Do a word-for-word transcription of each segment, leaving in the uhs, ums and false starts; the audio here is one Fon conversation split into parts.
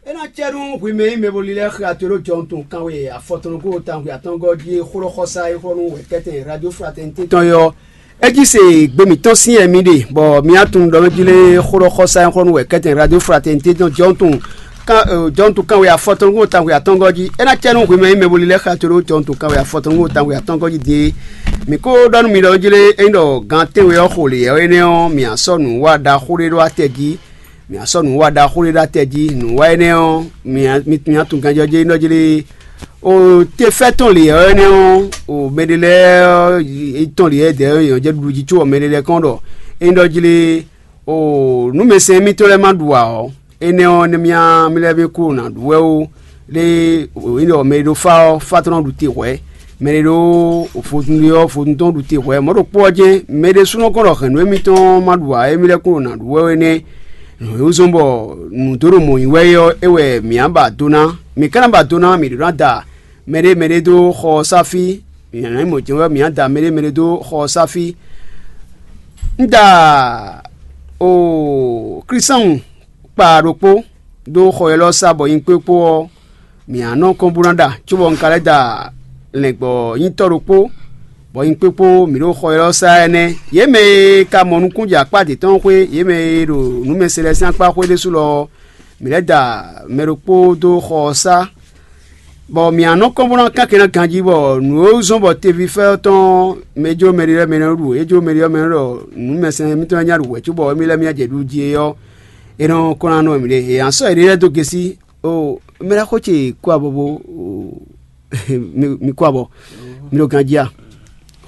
É ná cɛ nú hwi mɛ e nyí mɛ bo lílɛ́ xyató ɖo jɔnutun kanwe afɔtɔn nukún tawun atɔngɔ́ jí e xó ɖɔ xɔsá e xlɔ́ nú wɛ̌kɛ́tɛn Radio Fraternité tɔn é ɔ́, é jí se gbe mǐtɔn sín yɛ mi ɖe, bɔ mi wá tunwun ɖɔ mɛ jí lé xó ɖɔ xɔsá e xlɔ́ nú wɛ̌kɛ́tɛn Radio Fraternité tɔn jɔnutun kan jɔnutun kanwe afɔtɔn nukún tawun atɔngɔ́ jí. É ná cɛ nú hwi mɛ e nyí mɛ bo lílɛ́ xyató ɖo jɔnutun kanwe afɔtɔn nukún tawun atɔngɔ́ jí din é. Mǐ ko ɖɔ nú mi ɖɔ jí lé, ényí ɖɔ gan tɛ́nwe ɔ́ xo lě ɔ́ énɛ́ ɔ́, mǐ sɔ́ nǔ wa ɖaxó ɖé ɖó atɛ jí. Mǐ sɔ́ nǔ wa ɖaxó ɖé ɖó atɛ jí. Nǔ wa énɛ́ ɔ́, mǐ tunwun ganjɔ́ jɛ nɔ jí lé. O te fɛ́ tɔn lě ɔ́ énɛ́ ɔ́, o mɛ ɖé lɛ́ɛ ɔ́, tɔn lě ɛ́ dɛ̌ ɔ́, yě nɔ jɛ ɖuɖu jí có ɔ́, mɛ ɖé lɛ́ɛ kɔn ɖɔ é nɔ jí lé. O nǔ mɛsɛn mitɔn lɛ́ɛ ma ɖu ǎ ɔ́, énɛ́ ɔ́, nɛ́ mì mì lɛ́ɛ mì kú nǎ ɖu wɛ ó. Lé nyí ɖɔ mɛ e ɖo fá ɔ́, fá tɔn nɔ ɖu te hwɛ̌. Mɛ e ɖo vodún ɖe ɔ́, vodún tɔn ɖu te hwɛ̌. Mɔ̌ ɖokpó ɔ́ jɛ́n, mɛ ɖésúnɔ kɔn ɖɔ hɛ̌nnu émítɔn ma ɖu ǎ, émí lɛ́ kún ɖo nǎ ɖu wɛ é nɛ́. Nǔ e wú zɔ́n bɔ nǔ dó ɖo mɔ̌ nyi wɛ é ɔ́, é wɛ mǐ á ba do ná. Mǐ ka ná ba do ná, mǐ ɖó ná da mɛɖé mɛɖé dó xɔ ɔ́ sá fí. Mǐ ná nyí mɔ̌ jɛ́n wɛ mǐ á da mɛɖé mɛɖé dó xɔ ɔ́ sá fí. Un da o Klísanwun kpa ɖokpó dó xɔ élɔ́ sá bɔ nyi kpé kpó ɔ́, mǐ á nɔ kɔn bó ná ɖa, cóbɔ un ka lɛ́ da lɛ̌ngbɔ́nyitɔ́ ɖokpó, bɔ nyi kpé kpó mǐ ɖo xɔ élɔ́ sá ɛnɛ́. Yě mɛ e ka mɔ nukúnjɛ akpá dě tɔn xwé, yě mɛ e ɖo nǔmɛsɛlɛsɛn akpá xwé ɖésú lɔ ɔ́, mǐ lɛ́ da mɛ ɖokpó dó xɔ ɔ́ sá, bɔ mǐ á nɔ kɔn bó ná kán kɛn ná ganjí, bɔ nǔ e zɔ́n bɔ tevifɛ́ ɔ́ tɔn mɛ jó mɛ ɖé lɛ́ɛ mɛ nɔ ɖu, é jó mɛ ɖé lɛ́ɛ mɛ nɔ ɖɔ nǔmɛsɛn mitɔn lɛ́ɛ nya ɖu hwɛ̌ cóbɔ émí lɛ́ɛ mì nya jɛ ɖu jí é ɔ́, è nɔ kɔn ná nɔ mǐɖée. È nǎ sɔ́ yěɖée lɛ́ɛ dó gěsí. O mɛ ɖaxó ce kú abɔbɔ. Mi kú abɔ. Mi ɖo ganjí a?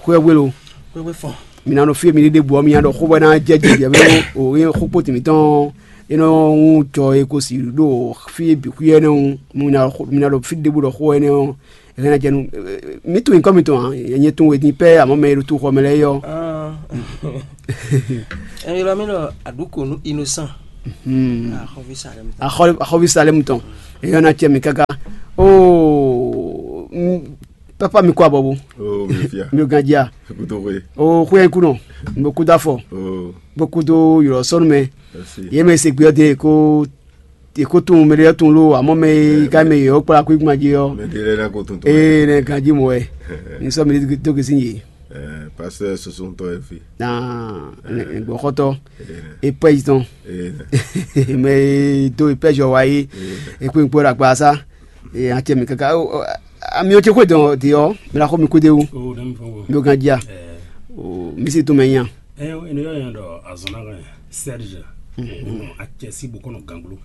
Xwé ɔ́ gbé lo. Xwé gbé fɔn. Mi ná nɔ fí e mi ɖe ɖěbǔ ɔ́, mi ná ɖɔ xó bɔ é ná jɛ jɛ jɛ bɛ o ye xó kpóti mǐtɔn. É nɔ ŋu jɔ e ko si ɖo fí e bǐ xwí ɛnɛ́ ɔ́, mi ná ɖɔ fí ɖěbǔ ɖɔ xó ɛnɛ́ ɔ́, é hɛn ná jɛ nú. Mi tunwun nyǐkɔ mitɔn ǎ, nyɛ tunwun e din pɛ́ amɔ̌ mɛ e ɖo túxɔ mɛ lɛ́ɛ é ɔ́. Ɛ ylɔ́ mì ɖɔ aɖǔkonu innocent. Axɔ́ví Salɛmu tɔn. Axɔ́ví Salɛmu tɔn. Eyɔ́ ná cɛ mì káká. Oo, papa mi kó abɔ bo. Oo, mi fia. Mi ganjia. Kuto xwe. Oo, xwe kú nɔ. Mo kú dó afɔ. Oo. Mo kú dó ylɔ sɔnu mɛ. Merci. Yé mɛ se gbé ɔdɛ ko e ko tunwun mɛ ɖé tun lo amɔ́ mɛ e ka mɛ yě ɔ́ kplá kú gbɔn jí ɔ́. Mɛ ɖé lɛ́ɛ ná ko tun tó. Ee, nɛ ganjí mɔ wɛ. Ní sɔ mi dó gesi yě. Ɛɛ, pasteur soso ŋutɔ yɛ fi. Naa gbɔxɔtɔ. Ee. E pɛzi tɔn. Ee. Mɛ e dó e pɛzi ɔ́ wá yé. Ee. E kpé kpó ɖo agba sá. Ee, an cɛ mi kaka. Ami ɔ́ cɛ xwé dɔn di ɔ́, mi la xɔ mi kú de wu. O ɖe mi fɔ wo. Mi o gan jia. Ɛɛ. O mi si tun mɛ nya. Ɛɛ, enu yɔ yɛn dɔ azɔn na kan. Serge. Acɛ si bokɔnɔ ganglo.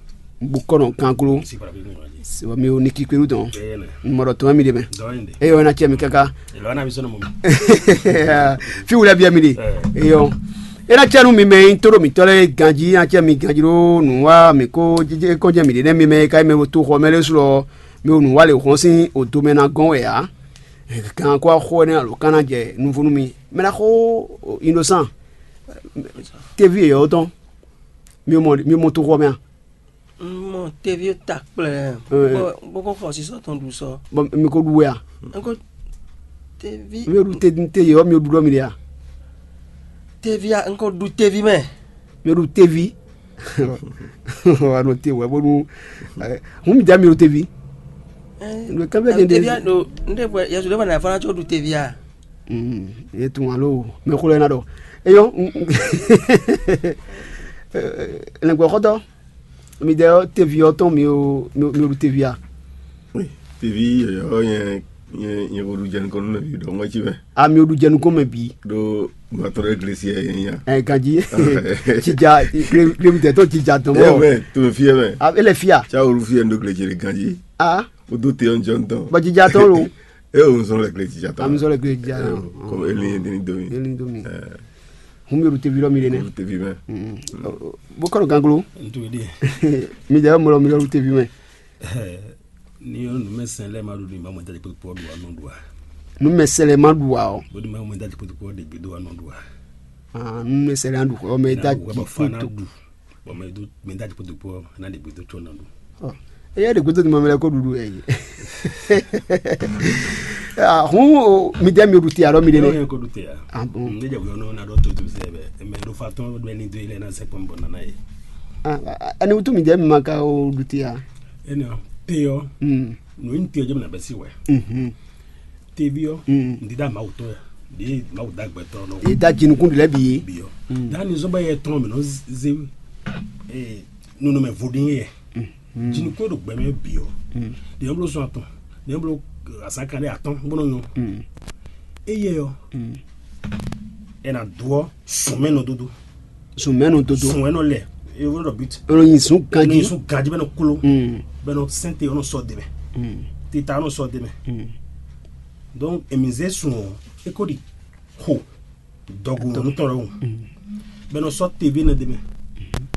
Bokɔnɔ ganglo. Si para bi mo ji. Sɛbɛ mi o ni kikperu dɔn. Ɛɛ. Mɔdɔ tɔn mi de mɛ. Dɔ yɛn de. Eyɔ na cɛ mi kaka. Elɔ na mi sɔnɔ mo. Fi wula bia mi de. Ɛɛ. Eyɔ. Ena cɛ nu mi mɛ yin to ɖo mi tɔ lɛ ganji, acɛ mi ganji ɖo nu wa mi ko jije kɔjɛ mi de nɛ mi mɛ ka mi wo to xɔ mɛ le su lɔ mi wo nu wa le hɔn sin o do mɛ na gɔn wɛ a. Kan ko axɔ ne alo kan na jɛ nuvo nu mi. Mɛ na xo innocent. Tevi yɔ tɔn. Mi mɔ mi mɔ to xɔ mɛ a? Mɔ tevi ta kplɛ. Boko xɔ sisɔ tɔn du sɔ. Bɔn mi ko ɖu wɛ a? Nko tevi. Mi ɖu te te yɔ mi ɖu ɖɔ mi ɖe a? Tevi a nko ɖu tevi mɛ. Mi ɖu tevi. Wa ɖo te wɛ bonu. Hun mi da mi ɖo tevi. Ndu kan bɛ jɛn de. Tevi a ɖo nde bɔ yasu ɖe bɔ na fana tso ɖu tevi a? Ye tun alo mɛ xo lɛ na ɖɔ. Eyɔ. Lɛngbɛ xɔtɔ. Mi dɛ ɔ tevi ɔ tɔn mi o mi o ɖu tevi a? Tevi yɔyɔ nyɛ nyɛ nyɛ ko ɖu jɛnu kɔnu mɛ bi ɖɔ ŋɔtsi mɛ. A mi o ɖu jɛnu kɔnu mɛ bi. Ɖo matɔ ɖe glesi yɛ yɛ nya. Ɛ ganji. Tsidza. Klebi tɛ tɔn tsidza tɔn. Ɛ mɛ to fi yɛ mɛ. A ele fia. Tsa wolu fi yɛ ndo glesi yɛ ganji. A. O do te ɔn jɔn tɔn. Bɔ tsidza tɔn lo. E o nsɔn lɛ glesi tsidza tɔn. A mi sɔn lɛ glesi tsidza tɔn. Kɔmi eli yɛ deni domi. Eli domi. Hun mi ɖu tevi lɔ mi ɖe nɛ. Tevi mɛ. Bo kɔ ɖo ganglo. Ntudi. Mi dɛ mɔ mi ɖu tevi mɛ. Ni yo numɛsɛn lɛ ma ɖu ni ma mɔ dadi kpekpe ɖu anɔ ɖu a? Numɛsɛn lɛ ma ɖu a o. Bo ni ma mɔ dadi kpekpe ɖe gbe do anɔ ɖu a? Ah, numɛsɛn lɛ ma ɖu o mɛ dadi kpekpe. Bɔ mɛ do mɛ dadi kpekpe na ɖe gbe do tsɔ na ɖu. Eya ɖe gbɛdɔ ni ma mɛ lɛ ko ɖuɖu ɛ yi. Hun mi dɛ mi ɖu te alɔ mi ɖe nɛ. Ko ɖu te a? Ah bon. Ne jɛ wuyɔ nɔ na ɖɔ to to sɛ bɛ mɛ ɖo fa tɔn bɛ ni do ilɛ na sɛ kpɔn bɔ nana ye. Ɛni wútu mǐdɛɛ mi ma ka o ɖu te a? Énɛ́ ɔ́, te ɔ́, Mm. nǔ e nyí te ɔ́ jɛ mɛ nǎ bɛ́ sí wɛ. Mhm. Teví ɔ́, Mm. ŋdídá Mawu tɔn wɛ, ɖě Mawu dá gbɛtɔ́ nɔ Èyí dá jinukún ɖu lɛ́ɛ bǐ. Bǐ ɔ́. Mm. Dá ní zɔ́n bá yɛ tɔn mǐ nɔ zé eh, nunɔmɛ vodún yɛ. Mm. Jinukún e ɖo gbɛ mɛ bǐ ɔ́, Mm. ɖě nɔ bló sɔn atɔn, ɖě nɔ bló azǎkan ɖé atɔ́n bó nɔ nyɔ. Mm. Éyɛ́ ɔ́, Mm. è nǎ dó ɔ́ sɔn mɛ nɔ dódó. Sɔn mɛ nɔ dódó. Sɔn wɛ nɔ lɛ, e wɛ nɔ bit. Ɔnɔ yin sun ganji. Nɔ sun ganji bɛ nɔ klo. Mm. Bɛ nɔ sɛnte ɔnɔ sɔ dɛmɛ. Mm. Tita ɔnɔ sɔ dɛmɛ. Mm. Donc emi zé sun ɔ, e ko ɖi xo dɔgo nɔ tɔn ɖɔhun. Bɛ nɔ sɔ tevi nɛ dɛmɛ.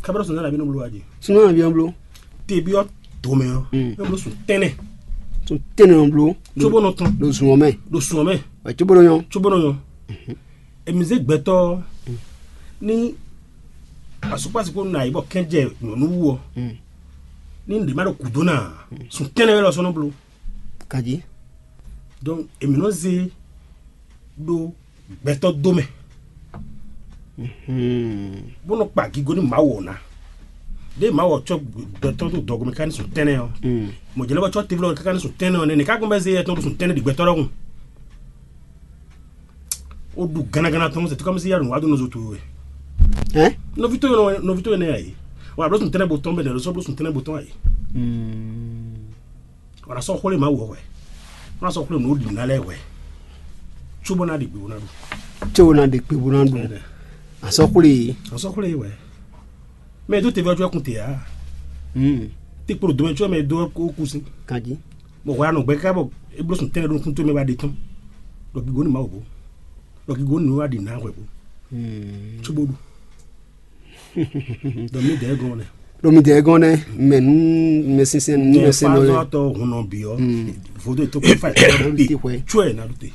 Kabɛ sɔn nana bi nɔ blo aji. Sɔn nana bi nɔ blo. Tevi ɔ domɛ ɔ. Mm. Nɔ blo sun tɛnɛ. Sun tɛnɛ nɔ blo. Tsobo nɔ tɔn. Ɖo zun ɔ mɛ. Ɖo sun ɔ mɛ. Wɛ tsobo nɔ nyɔ. Tsobo nɔ nyɔ. Emi zé gbɛtɔ ni asukpasi ko na yi bɔ kɛnjɛ nyɔnu wu ɔ. Mm. Ni ɖe ma ɖo kudo na sun tɛnɛ wɛ lɔ sɔnɔ blo. Kaji. Donc emi nɔ zé ɖo gbɛtɔ dó mɛ. Mhm. Bó nɔ kpa gigo ní Mawu ɔ́ ná. Ɖé Mawu ɔ́ tsɔ gbɛtɔ tó dɔgɔmɛ ká ní sun tɛnɛ ɔ́. Mm. Mɔ̌ jɛ́ lɛ́ bɔ tsɔ teví lɔ káká ní sun tɛnɛ ɔ́ nɛ́, nɛ̌ ká gbɔn bɛ́ zé yɛ tɔn ɖo sun tɛnɛ ɖi gbɛtɔ́ ɖɔhun? Ó ɖu gánagánná tɔn sɛ tó ká mɛ sí yá nǔ wá dó nɔ zo towe wɛ. Hɛn? Nɔví towe nɔ nɔví towe nɛ ayi. Wà bló sun tɛnɛ bo tɔn bɛ nɛ lɔ sɔ bló sun tɛnɛ bo tɔn ayi. Mm. Wala sɔ xwlé Mawu wɛ. Wala sɔ xwlé nǔ ɖi ná lɛ́ wɛ. Tso bɔ ná ɖi gběwò ná ɖu. Tso ná ɖi gběwò ná ɖu. Asɔ xwlé. Asɔ xwlé wɛ. Mɛ dó tevɛ ɔjɔ kun te a. Hmm. Te kpolo domɛ tsɔ mɛ dó kó kú sí. Kaji. Bɔ hwɛ anɔ gbɛ ká bɔ eblo sùn tɛnɛ ɖo nukún tó mɛ ba ɖe tɔn. Ɖɔ gigo ni Mawu bo. Ɖɔ gigo ni wá ɖi ná hwɛ bo. Hmm. Tso bó ɖu. Donc mi dɛ gɔn nɛ. Ɖo mi dɛ gɔn nɛ, mɛ nu mɛ sinsɛn nu mɛ sɛn nɔ lɛ. Tɔ hun nɔ bi ɔ. Vodo to kɔ fa Ti hwɛ. Tsɔɛ na ɖu te.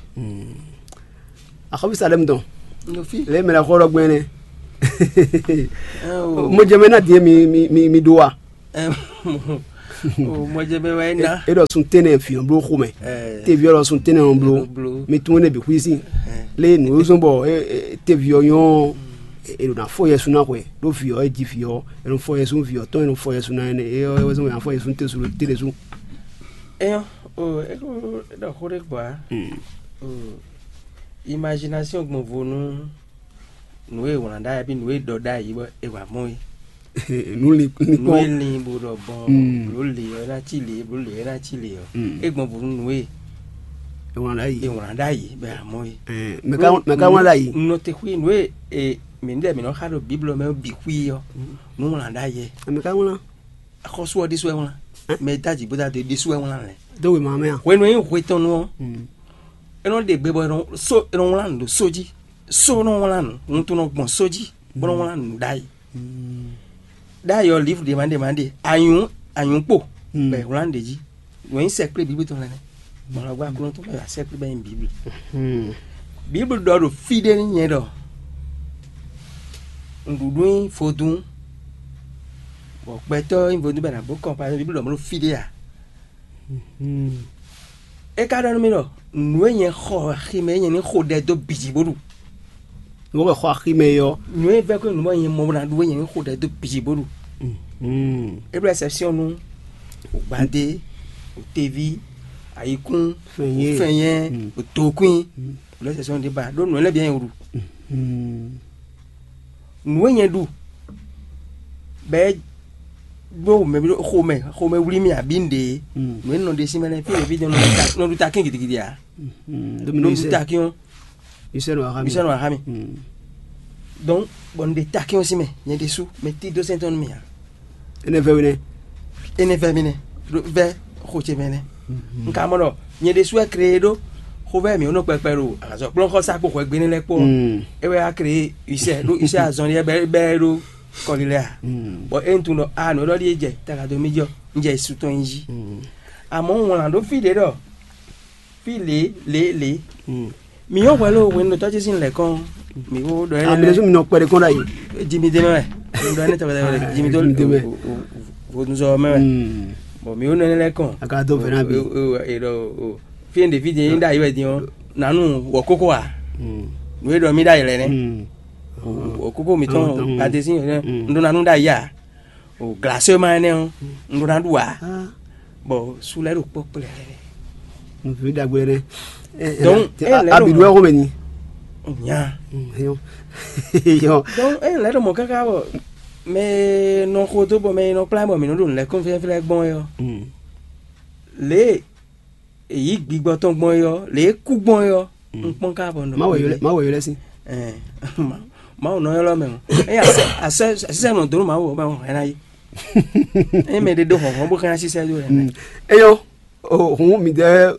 Axɔbi Salem dɔn. Nɔ fi. Lɛ mɛ la xɔ ɖɔ gbɛn nɛ. Ɛ o. Mo jɛ mɛ na diɛ mi mi mi mi do wa. Ɛ o, mo jɛ mɛ wa na. E ɖɔ sun tɛnɛ fiɔ blo xomɛ. Ɛ. Te viɔ lɔ sun tɛnɛ blo. Blo. Mi tun ne bi xwisi. Ɛ. Le nu zɔn bɔ e e te viɔ nyɔ. E ɖo na fɔ yɛ sun na xwɛ. Ɖo viɔ e ji viɔ. E nɔ fɔ yɛ sun viɔ tɔn e nɔ fɔ yɛ sun na ne. E yɔ e zɔn ya fɔ yɛ sun te sun te de sun. Eyɔn o e ko ɖɔ xo ɖe gbɔ a. O imagination gbɔn vo nú nǔ e wlán ɖ'ayǐ bí nǔ e ɖɔ ɖ'ayǐ bɔ è wǎ mɔ é. Nú li nú Nú kpɔ́n. E lin bó ɖɔ gbɔn Mm. Bló lě ɔ́ ná cí lě, bló lě ɔ́ ná cí lě ɔ́. Mm. É gbɔn vo nú nǔ e Ewlán ɖ'ayǐ. È wlán ɖ'ayǐ bɔ è wǎ mɔ é. Ɛ, mɛ ka mɛ ka wlán ɖ'ayǐ. Nɔ te xwí nǔ e e mǐ ɖɛ mǐ nɔ xa ɖo Bíblɔ mɛ bǐ xwí ɔ́, nǔ wlán ɖ'ayǐ. Mɛ ka wlán. Xɔ́sú ɔ́ ɖésú wɛ wlán. Mɛ e dó aji bó dó ado é ɖésú wɛ wlán lɛ́. Dó wěma mɛ a? Hwenu e nyí hwe tɔn nu ɔ́, Mm. é nɔ ɖe gbe bɔ é nɔ so é nɔ wlán nǔ ɖo só jí. Só nɔ wlán nǔ, wuntun nɔ gbɔn só jí, bó nɔ wlán nǔ ɖ'ayǐ. Ɖ'ayǐ ɔ́, livre ɖě ma ɖě ma ɖe, anyǔ anyǔ kpo Mm. bɔ è wlán ɖě jí. Wɛn nyí sɛkplé Bíbli tɔn lɛ́ɛ nɛ́. Gbɔn lɔ gbá Aklúnɔ tɔn bɔ è wá sɛkplé bɔ é nyí Bíbli. Bíbli ɖɔ ɖo fí ɖé n'i nyɛ ɖɔ nǔɖuɖu nyí vodún, bɔ gbɛtɔ́ nyí vodún bɔ è nǎ bó kɔn pa Bíbli ɖɔ mɔ̌ ɖo fí ɖé ǎ. É ka ɖɔ nú mì ɖɔ nǔ e nyɛ xɔ axi mɛ é nyɛ ní xo ɖɛ dó bǐ jí bó ɖu. Nǔ e xɔ axi mɛ é ɔ́. Nǔ e vɛ́ kó nǔ bɔ nyɛ mɔ bó ná ɖu é nyɛ ní xo ɖɛ dó bǐ jí bó ɖu. É ɖo ɛsɛpsiɔn nú gbadé, teví, ayikún, Fɛnyɛ́. Fɛnyɛ́, Mm. Tokwín. Ɖo ɛsɛpsiɔn ɖé ba ɖó nǔ e lɛ́ bǐ nyɛ ɖu. Nǔ e nyɛ ɖu bɔ é ɖó mɛ xomɛ xomɛ wlí mì abǐ nǔɖé. Nǔ e nɔ ɖe sín mɛ lɛ́ɛ fí ɖěví nɔ ɖu takín gidigidi ǎ. Nɔ ɖu takín ɔ́. Isɛ́ nɔ wá xá mi. Donc bɔ un ɖe takín ɔ́ sín mɛ nyɛ ɖésú mɛ tí dó sɛ́n tɔn nú mì ǎ. Énɛ́ vɛ́ we nɛ́. Énɛ́ vɛ́ mì nɛ́. Vɛ́ xo ce mɛ nɛ́. Un ka mɔ ɖɔ nyɛ ɖésú wɛ kree ɖó xovɛ́ mǐ nɔ kpɛkpɛ ɖo azɔ̌kplɔ́nxɔsá kpo hwɛgbe énɛ́ lɛ́ɛ kpó ɔ́, é wɛ wá kree Usɛ́ ɖó Usɛ́ azɔn lɛ́ɛ bɛ́ bɛ́ ɖó kɔlilɛ a. Bɔ é un tunwun ɖɔ a nǔ e ɖɔ ɖíe jɛ taga dó mì jɔ un jɛ su tɔn nyi jí. Amɔ̌ un wlán ɖó fí ɖě ɖɔ fí lě lě lě. Mǐ nyɔ́ hwɛ ló hwenu ɖo tɔ́ ce sín lɛ̌kɔn mǐ ko ɖɔ ɛ. Amɛ lɛ́ɛ mi nɔ kpɛɖé kɔn ɖ'ayǐ. Jimi dé mɛ wɛ. Ɖɔ ɛnɛ tɔgɔ tɔgɔ Jimi dó Jimi dé mɛ. Vodunzɔ mɛ wɛ. Bɔn mǐ ko nɔ ɛnɛ lɛ́ kɔn. A ka dó vɛ ná bi. Fi ɛn ɖe fi din ɖ'ayǐ wɛ din ɔ́ nanu wɔ kókó a. Nǔ e ɖɔ mí ɖ'ayǐ lɛ nɛ. Wɔ kókó mǐtɔn adesín n ɖó nanu ɖ'ayǐ a. O glasema énɛ́ ɔ́, un ɖó ná ɖu ǎ. Bɔ su lɛ́ɛ ɖo kpɔ́ kplɛ́. Nǔví ɖagbe nɛ. Donc, ɛ, lɛ́ ɖo abidɔ mɔ- ɛxɔmɛ ni. Nya. Yɔ. Yɔ. Donc, ɛ lɛ́ ɖo mɔ káká bɔ mɛ nɔ xo dó bɔ mɛ nɔ kplá bɔ mǐ nɔ ɖo nǔ lɛ́ɛ kɔn fɛ́fɛ́ gbɔn é ɔ́, lě e yǐ gbigbɔ tɔn gbɔn é ɔ́, lě e kú gbɔn é ɔ́, un kpɔ́n ká bɔ nɔ. Mawu yɔ lɛ mawu yɔ lɛ si. Ɛɛ, Mawu nɔ ylɔ́ mɛ o. Eye asɛ asɛ asɛ nɔ dó nú Mawu ɔ́ mɛ o, hɛn ná yi. Eye mɛ ɖe ɖó hɔnhɔn bó hɛn ná sísɛ dó hɛn. Eyɔ. O hun mi dɛ.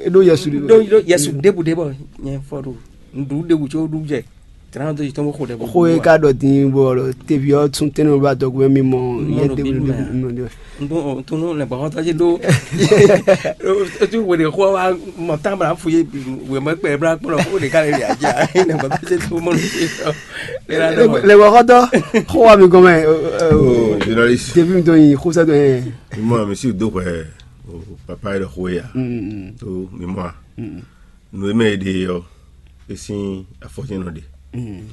Eɖo yɛsu ɖi. Ɖó ɖó Yesu ɖěbǔ ɖé bɔ nyɛ fɔ ɖo ŋɖu ɖěbǔ tso ɖu jɛ. Tran dó yi tɔn bó xo ɖɛ bɔ. Xo e ka ɖɔ din bɔ tevi ɔ tún tɛnɛ bá dɔgbe mi mɔ yɛ ɖebu ɖebu. Ntun ntun lɛ gbɔxɔtɔ tsi ɖó. Otu wele xɔ wa mɔ tán bla fu ye wemɛ kpɛ bla kplɔ xo ɖeka le ya ja. Lɛ gbɔxɔtɔ tsi ɖó mɔ nu. Lɛ gbɔxɔtɔ xɔ wa mi gɔmɛ. Journaliste. Tevi mi dɔ yi xo sɛ dɔ yɛ. Mi mɔ mi si do hwɛ. Papa yi ɖɔ xo ya. To mi mɔ a. Nǔ e mɛ è ɖe ɔ́, é sín afɔjɛ́n nɔ ɖe. Un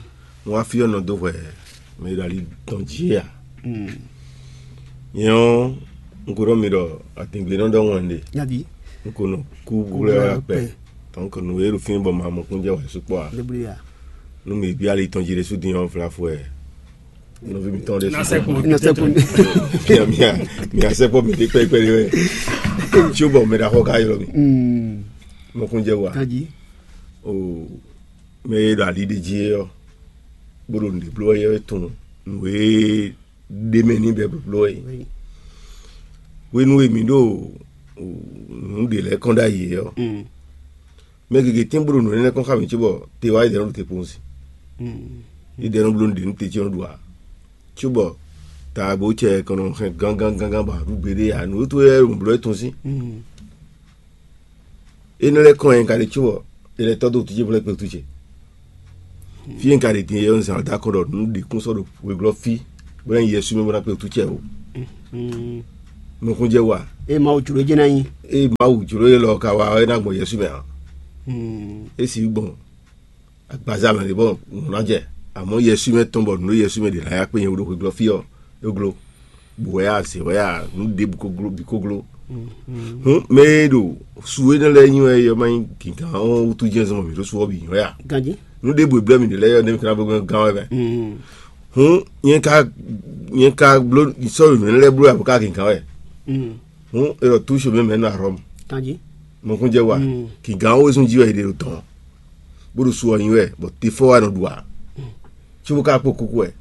wá fí ɔ́ nɔ dó hwɛ mɛ e ɖo ali tɔn jí é ǎ. Nyɛ ɔ́, un ko ɖɔ mi ɖɔ adǐngblénɔ ɖɔhun wɛ un ɖe. Nyaví. Un ko nɔ kú wlɛ́ wá kpɛ. Donc nǔ e ɖo fínɛ́ bɔ ma mɔ kún jɛ wǎ sukpɔ́ ǎ. Nú mi bí ali tɔn jí ɖésú din ɔ́, vlafɔ wɛ. Nɔví mitɔn ɖe. Nasɛkpɔ. Nasɛkpɔ. Mia mia mia sɛkpɔ mi ɖe kpɛkpɛ ɖe wɛ. Tso bɔ mɛ ɖaxɔ ka ylɔ mi. Mɔkun jɛ wa. Kaji. O mɛ e ɖo ali ɖe jí é ɔ́, bó ɖo nǔɖé bló wɛ é tunwun nǔ e ɖ'é mɛ n'i bɛ́ bló wɛ é. Hwenu e mǐ ɖo nǔ ɖě lɛ́ɛ kɔn ɖ'ayǐ é ɔ́, mɛ gěgé tɛ́n bó ɖo nǔ énɛ́ kɔn xá mǐ cóbɔ te wá yi ɖɛ nɔ ɖo te kpowun sin. Yi ɖɛ nɔ bló nǔɖé nú te ce nɔ ɖu ǎ. Cóbɔ taabo cɛ kɔn nɔ hɛn gángángán bɔ a ɖu gbeɖé ǎ, nǔ e towe lɛ́ɛ ɖo nǔ bló wɛ tɔn sín. Énɛ́ lɛ́ɛ kɔn nyi ka ɖe cóbɔ è lɛ́ tɔ́ dó wǔtu ce bó lɛ́ kpe wútu ce. Fí e un ka ɖe din é ɔ́, un zǎn dó akɔ ɖɔ nǔ ɖě kún sɔ́ ɖo wěglɔ́ fí bó ná nyi Yɛsu mɛ bó ná kpe wútu ce ó. Nukúnjɛ wa. Ée Mawu jló jɛ́n ná nyí. Ée Mawu jló élɔ́ ka wa ɔ́, é ná gbɔn Yɛsu mɛ ǎ. É sixú gbɔn agbaza mɛ ɖě bɔ nǔ ná jɛ. Amɔ̌ Yɛsu mɛ tɔn bɔ nǔ e Yɛsu mɛ ɖě ná ya kpé nyɛ wú ɖo hweglɔ́ fí ɔ́, é gló. Bǔ wɛ a, zě wɛ a, nǔ ɖěbǔ ko gló bǐ ko gló. Hǔn mɛ e ɖo su énɛ́ lɛ́ɛ nyi wɛ é ɔ́, má nyí gǐngán ɔ́ wútu jɛ́n zɔn bɔ mǐ ɖo su ɔ́ bǐ nyi wɛ a? Ganjí. Nǔ ɖěbǔ e blɛ́ mǐ ɖe lɛ́ɛ ɔ́, nɛ́ mǐ ka ná bló gán wɛ mɛ. Hǔn nyɛ ka nyɛ ka bló sɔ́ mǐ lɛ́ɛ bló ǎ bó ka gǐngán wɛ. Hǔn è ɖɔ tú xomɛ mɛ nɔ Arɔmu. Ganjí. Mɔkúnjɛ wa. Gǐngán ɔ́ wezun jí wɛ è ɖe ɖo dɔ̌n, bó ɖo su ɔ́ nyi wɛ, bɔ te fɔ wá nɔ ɖu ǎ. Cóbó ka kpó kúkú wɛ,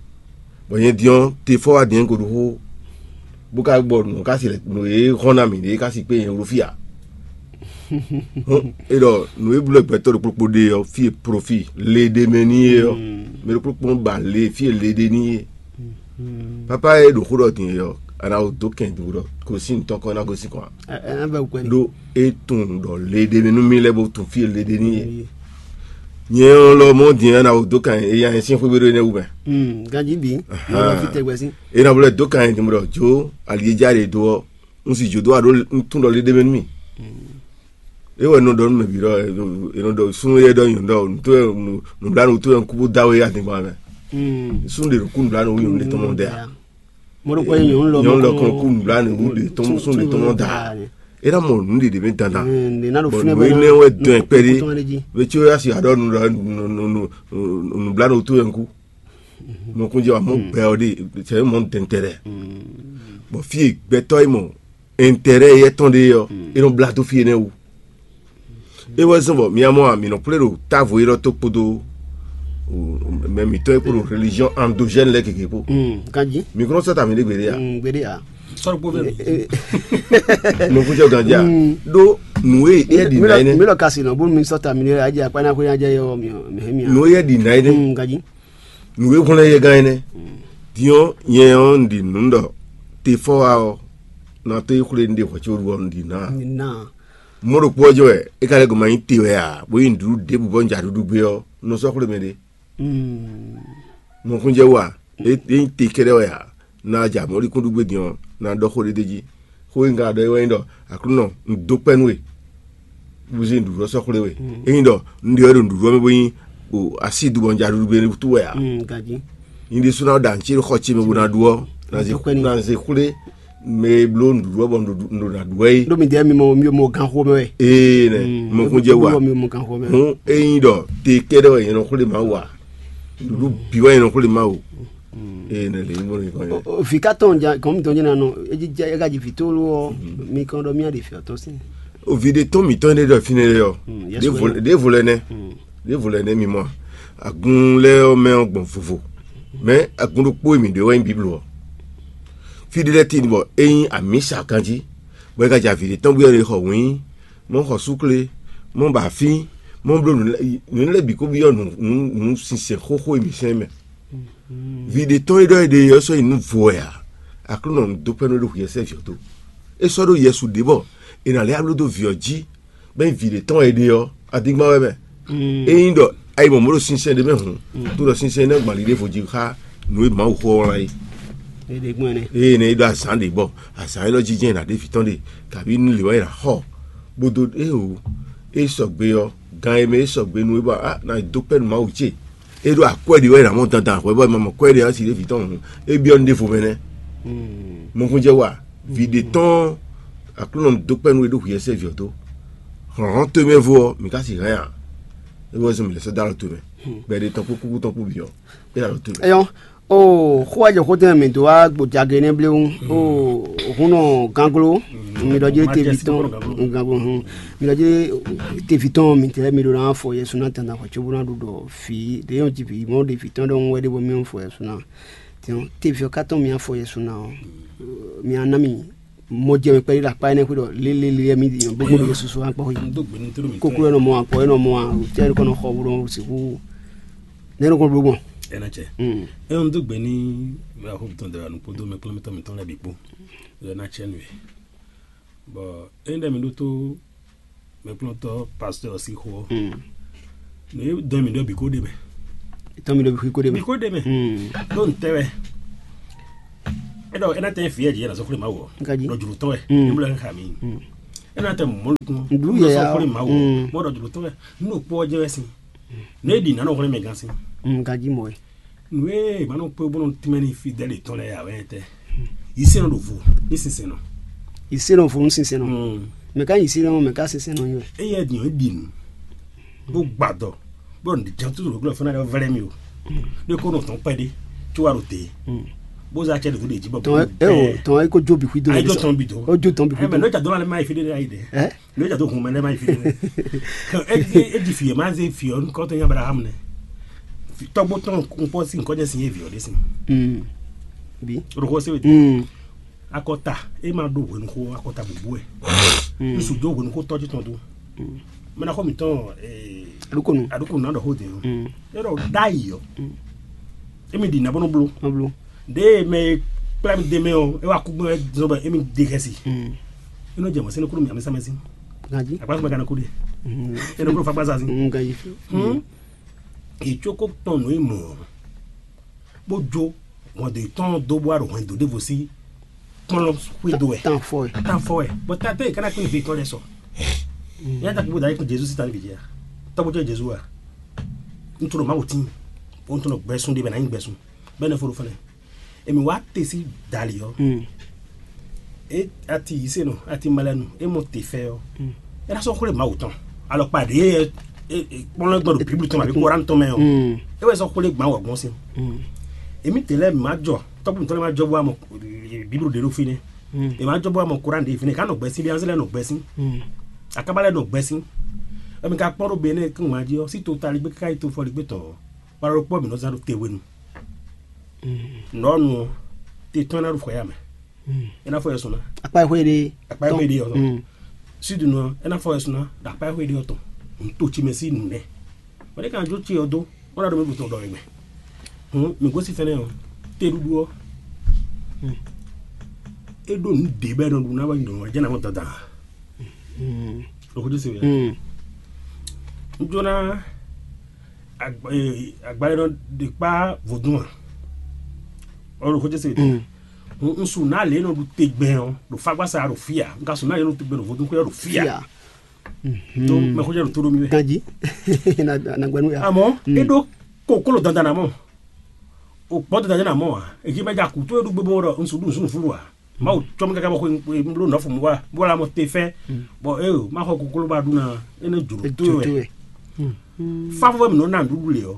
bɔ nyɛ din ɔ́, te fɔ wá din ko ɖo xó, bó ka gbɔ nǔ ka si nǔ e hɔn ná mǐ ɖe ka si kpé nyɛ wló fí ǎ. É ɖɔ nǔ e bló gbɛtɔ́ ɖokpó ɖokpó ɖe ɔ́, fí e profi le ɖe mɛ n'i é ɔ́, mɛ ɖokpó ɖokpó ba le fí e le ɖe n'i é. Papa e ɖo xó ɖɔ din é ɔ́, a nǎ wǒ dó kɛn dǒ ɖɔ gosín tɔn kɔn ná gosín kɔn ǎ. Ɖó é tunwun ɖɔ le ɖe mɛ nú mì lɛ́ɛ bó tunwun fí e le ɖe n'i é. Nyɛ ɔ́ lɔ mɔ din a nǎ wǒ dó kan e nya nyɛ sín xwé ɖó énɛ́ wú mɛ. Ganjí bǐ. Yɔ fi tɛgbɛ sín. E na blɛ dó kan e din ɖɔ jó ali e já ɖe dó ɔ́, un sì jó dó aɖó un tún ɖɔ le ɖe mɛ nú mì. É wɛ nɔ ɖɔ nú mɛ bǐ ɖɔ è nɔ ɖɔ súnnu yɛ ɖɔ nyɔ̌nu ɖɔ nǔtó wɛ nǔblánu tó wɛ un kú bó dá wé adingban mɛ. Súnnu ɖe ɖo kú nǔblánu wú nyɔ̌nu ɖe tɔn mɔ ɖɛ a? Mɔɖokɔ ye nyɔnu lɔ nyɔnu lɔ kɔn kú nǔblánu wú ɖe tɔn súnnu ɖe tɔn mɔ da. É ná mɔ nǔ ɖe ɖě mɛ dandan. Bɔn nǔ énɛ́ wɛ dɔn ɛ kpɛɖé. Vetsó ya si aɖɔ nǔblánu tó wɛ un kú. Nukúnjɛ wa mɔ gbɛ ɔ ɖe sɛ mɔ dɛntɛrɛ. Bɔn fí e gbɛtɔ́ e mɔ ɛntɛrɛ yɛ tɔn ɖe ɔ́, é nɔ blá dó fí énɛ́ wú. É wɛ zɔ́n bɔ mia mɔ a mǐ nɔ kplé ɖo távo élɔ́ tó kpódó mɛ mǐtɔn e kpó ɖo religion endogène lɛ́ɛ gěgé kpó. Ganjí. Mi kúnɔ sɔ́ ta mi ɖé gbeɖé a? Gbeɖé a? Sɔ́ ɖokpó fɛ mi. Nukúnjɛ ganjí a? Ɖó nǔ e é ɖi ná énɛ́. Mi lɔ kasi nɔ bónú mi sɔ́ ta mi ɖé a jɛ akpá ná xwé ná jɛ yɔ mi mi hɛn mi a. Nǔ e é ɖi ná énɛ́. Ganjí. Nǔ e hwlɛ́n yɛ gán énɛ́. Din ɔ́, nyɛ ɔ́, un ɖi nǔ ɖɔ te fɔ́ wá ɔ́, ná tó yi xwlé un ɖe hwɛ̌ có ɖu ɔ́, un ɖi nǎ. Ná. Mɔ̌ ɖokpó ɔ́ jɛ́n wɛ é ka lɛ́ gɔ́ ma nyí te wɛ ǎ, bó nyí nǔɖuɖu ɖěbǔ bɔ un ja ɖuɖu gbé ɔ́, un nɔ sɔ́ xwlé mɛ ɖé. Nukúnjɛ wú a? É nyí te kɛ́ɖɛ́ wɛ ǎ. Na ja mɔ̌likúnɖugbe din ɔ́, na ɖɔ xó ɖé d'é jí. Xó e un ka ɖɔ é wɛ nyí ɖɔ Aklúnɔ, un dó kpɛ́ nú we, bó zé nǔɖuɖu ɔ́ sɔ́ xwlé we. Ényí ɖɔ un ɖe wɛ ɖo nǔɖuɖu ɔ́ mɛ bó nyí asídu bɔ un ja ɖuɖu gbé wútu wɛ ǎ, nyɛ ɖésú ná ɖo ancéɖoxɔ ce mɛ bó ná ɖu ɔ́, na zé xwlé mɛ e bló nǔɖuɖu ɔ́ bɔ nǔɖuɖu nǔɖuɖu ná ɖu wɛ é. Ɖó mi ɖɛɛ mi mɔ mi mɔ ganxo mɛ wɛ. Ee nɛ, mɔkúnjɛ wa. Mi mɔ ganxo mɛ. Hun ényí ɖɔ te kɛɖɛ wɛ yɛn nɔ xwlé Mawu a? Nǔɖuɖu bǐ wɛ yɛn nɔ xwlé Mawu. Ee nɛ lě nyí bɔ nɔ kɔn yɛ. Vǐ ka tɔn ja kɔn mi tɔn jɛ na nɔ. Edzi jɛ ega ji vǐ tó ló ɔ. Mi kɔn ɖɔ mi aɖe fi ɔtɔn sin. Ovi ɖe tɔn mǐtɔn ɖe ɖɔ fínɛ́ lɛ ɔ. Ɖěvo lɛ nɛ. Ɖěvo lɛ nɛ mi mɔ a? Agun lɛ́ɛ ɔ́ mɛ ɔ́ gbɔn vovo. Mɛ agun ɖokpó e mǐ ɖe wɛ nyí Biblu ɔ́. Fí ɖé lɛ́ɛ tíin bɔ é nyí amǐsa ganjí, bɔ é ka jɛ avǐ ɖé tɔn byɔ́ ɖě xɔ wǐin, mɔ xɔ súkle, mɔ ba afín, mɔ bló nǔ lɛ́ɛ bǐ kó byɔ́ nǔ sinsɛn xóxó e mǐ sɛn mɛ. Vǐ ɖé tɔn e ɖɔ é ɖe ɔ́ sɔ́ nyi nǔ vo wɛ ǎ. Aklúnɔ dó pɛ́ nú é ɖo hwiyɛ́sɛ́ vǐ ɔ́ tó. É sɔ́ ɖó Yɛsu ɖě bɔ è nǎ lɛ́ bló dó vǐ ɔ́ jí, bɔ é nyí vǐ ɖé tɔn e ɖe ɔ́, adingban wɛ mɛ. Ényí ɖɔ ayi mɔ̌ mɔ̌ ɖo sinsɛn ɖé mɛ hǔn, tó ɖɔ sinsɛn énɛ́ gbǎn ɖiɖe vo jí xá nǔ e Mawu xó ɔ́ wlán é. Ée nɛ é ɖó azǎn ɖě bɔ azǎn élɔ́ jínjɔ́n è nǎ ɖe vǐ tɔn ɖe, kabǐ nú lě wɛ è nǎ xɔ, bó dó éeǒ. É sɔgbe ɔ́, gan e mɛ é sɔgbe nú é bɔ a nǎ dó kpɛ́ nú Mawu ce. É ɖó akwɛ́ ɖě wɛ è nǎ mɔ dandan hwɛ bɔ è ma mɔ kwɛ́ ɖě ɔ́, asi ɖé vǐ tɔn hǔn, é byɔ́ nú ɖěvo mɛ nɛ́. Mɔkúnjɛ wa, vǐ ɖé tɔn Aklúnɔ dó kpɛ́ nú é ɖó hwiyɛ́sɛ́ vǐ ɔ́ dó. Hlɔ̌nhlɔ́n towe mɛ vo ɔ́, mǐ ka sixú hɛn ǎ. É wɛ zɔn mǐ lɛ́ sɔ́ dó alɔ towe mɛ. Gbɛɖe tɔn kpó kúkú tɔn kpó bǐ ɔ́, é ɖo alɔ towe mɛ. Ɛyɔ, o xó wá jɛ xó tɛn mɛ dó wá gbo jage nɛ́ bléwún. O hun nɔ ganglo, mi ɖɔ jɛ tevi tɔn ganglo hun. Mi ɖɔ jɛ tevi tɔn mi tɛ mi ɖo na fɔ Yɛsu na tanda xɔ tso bó na ɖu ɖɔ fi ɖe yɔn ti vi mɔ ɖe fi tɔn ɖɔ ŋu wɛ ɖe bɔ mi fɔ Yɛsu na. Tiɲɔ, tevi ɔ́ ka tɔn mì afɔ Yɛsu ná ɔ́, mì aná mì mɔ jɛ mɛ kpɛɖé ɖo akpá énɛ́ xwé ɖɔ lélélé mi ɖi bó gbɔn ɖo susu akpá xwé. Kókó ɛnɔ mɔ akpɔ ɛnɔ mɔ a tɛ ɛnɔ kɔnɔ xɔ wúrɔ sixú nɛ ɛnɔ kɔnɔ bló gbɔn. Ɛnɛ cɛ. Mm. Ɛnɔ dó gbe ní mɛ xɔ tɔn dara nu kpódó mɛ kplɔ́mɛtɔ́ mǐtɔn lɛ́ɛ bǐ kpó. Ɛnɛ cɛ nú ɛ. Bɔ énɛ́ mi ɖótó mɛkplɔ́ntɔ́ pastɔ́ ɔ́ sín xó ɔ́, nǔ e dɔn mì ɖɔ bǐ kó ɖe mɛ. Tɔn mi ɖo bǐ kó ɖe mɛ. Bǐ kó ɖe mɛ. Ɖó ntɛ́ wɛ? É ɖɔ é ná tɛ́ nyí fǐ e jǐ yɛ nǎ sɔ́ xwlé Mawu ɔ́. Nka jí. Ɖɔ jlǒ tɔn wɛ. Ní bló ɛ xá mi. É ná tɛ́ mɔ̌ nukún. Nǔɖuɖu yɛ sɔ́ xwlé Mawu ɔ́. Bó ɖɔ jlǒ tɔn wɛ. Nú ɖo kpó ɔ́ jɛ wɛ sín. Nǔ e ɖi nǎ nɔ xwlé mɛ gán sín. Nka jí mɔ wɛ. Nǔ e ma nɔ kpé bó nɔ tínmɛ n'i fidɛ́li tɔn lɛ́ɛ ǎ wɛ tɛ́? Yisɛ́nɔ ɖo vo ní sinsɛnnɔ. Yisɛ́nɔ vo ní sinsɛnnɔ. Mɛ ka nyí yisɛ́nɔ, mɛ ka sinsɛnnɔ nyí wɛ. Éyɛ́ din ɔ́, é ɖi nǔ, bó gba dɔ, bó ɖɔ nǔján tó ɖo glɔ́ fún ná vlɛ́ mì o. Ɖé kó nɔ tɔn kpɛɖé, có wá ɖo te. Bó zá acɛ ɖě dó ɖě jí bɔ tɔn ɛ o tɔn ɛ kó jó bǐ xwí dó. Ayé jó tɔn bǐ dó. Ó jó tɔn bǐ xwí dó. Mɛ nɔ́ jà dó lálẹ́ má yi fí ɖé ayé ɖé. Ɛ? Lě e jɛ dó hun mɛ lɛ́ɛ ma yi fí nɛ́. É ɖi fǐ e ma zé fǐ ɔ́ nukɔn tɔn nyí Ablaham nɛ́. Tɔ́gbó tɔn kpɔ́ sín nukɔn jɛ sin yé vǐ ɔ́ ɖésú. Bí. Ɖo xó sé wete. Akɔta é ma ɖó hwenuxó akɔta bǔbú wɛ. Ŋsu dó hwenuxó tɔ́jú tɔn dó. Mɛ ná xɔ mǐtɔn. Aɖúkonu. Aɖúkonu ná ɖɔ xó dě ɔ́. É ɖɔ ɖ'ayǐ ɔ́. Émi ɖi nɛ̌ bó nɔ bló? Nɔ bló. Ɖěe mɛ e kplá mi d'é mɛ ɔ́, é wá kú gbɔn é zɔ́n bɔ émi ɖe xɛsi. É nɔ jɛ mɔ̌ sɛ́n nɔ kú nú mì amɛsɛmɛsín. Ganjí. Akpásúgbɛ ka nɔ kú ɖe. É nɔ kú nɔ fákpá zazín. Ganjí. Yě có kó tɔn nǔ e mɔ̌ ɔ́, bó jó hɔn dó yětɔn dó bó wá ɖo hwɛndo ɖěvo sí kplɔ́n xwédo wɛ. Tan fɔ ɛ. Tan fɔ ɛ. Bɔ tatɔ yi kana kpɛn fɛ tɔ lɛ sɔ. Ya ta kpɛn da yi kun Jezu si ta bi jɛ. Tɔgbo jɛ Jezu wa. Ntoro ma wutin. O ntoro gbɛsun de bɛ na yin gbɛsun. Bɛ ne foro fɛnɛ. Emi wa te si dali ɔ. E ati yise nɔ ati malɛnu e mɔ te fɛ ɔ. E na sɔ xwle Mawu tɔn. Alɔ kpa de e kpɔnlɔ gbɔn do Biblu tɔn ma bi Koran tɔn mɛ ɔ. E wɛ sɔ xwle gban wɔ gbɔn sin. Emi te lɛ ma jɔ tɔgbo ntɔ lɛ ma jɔ bɔ amɔ Biblu de ɖo fi nɛ. E ma jɔ bɔ amɔ Koran de fi nɛ ka nɔ gbɛ sin bi anzɛ lɛ nɔ gbɛ sin. Akaba lɛ nɔ gbɛ sin. Emi ka kpɔn ɖo be ne kún ma ji ɔ si to tali gbe kaka yi to fɔli gbe tɔn ɔ. Wala ɖokpɔ mi nɔ zan ɖo te hwenu. Nɔnu ɔ te tɔn na ɖo fɔ ya mɛ. E na fɔ yɛ sɔn na. Akpa xwe de. Akpa xwe de ɔ. Sud nɔ e na fɔ yɛ sɔn na ɖo akpa xwe de ɔ tɔn. N to tsi mɛ si nu nɛ. Wale kan jo tsi ɔ do. Wala ɖo mi bu tɔn dɔ ɛgbɛ. Hun mi gosi fɛnɛ ɔ. Te ɖuɖu ɔ. E ɖo nu de bɛ nɔ ɖu na wɛ nyɔ jɛ na mɔ dada. Ɖo ko jɛ se wɛ. N jona agbalẽ nɔ ɖe kpa vodún a. Ɔlɔ xɔjɛ se ɖe. N su na le nɔ ɖu tegbɛn ɔ ɖo fagbasa ɖo fia. N ka su na le nɔ ɖu tegbɛn ɖo vodún xwé ɔ ɖo fia. To mɛ xɔjɛ ɖo to ɖo mi wɛ. Ganji. Na na gbɛnu ya. Amɔ e ɖo kokolo dandan na mɔ. O gbɔ dada jɛ na mɔ a? Eji mɛ ja kutu e ɖu gbogbo ɖɔ nsu ɖu nsu fulu a? Mawu tsɔ mi kaka bɔ xwe bló nɔfɔ mu wa bó la mɔ te fɛ. Bɔ e o ma xɔ koklo ba ɖu na e ne jlo to wɛ. Fa fɔ mi nɔ na nuɖuɖu le ɔ.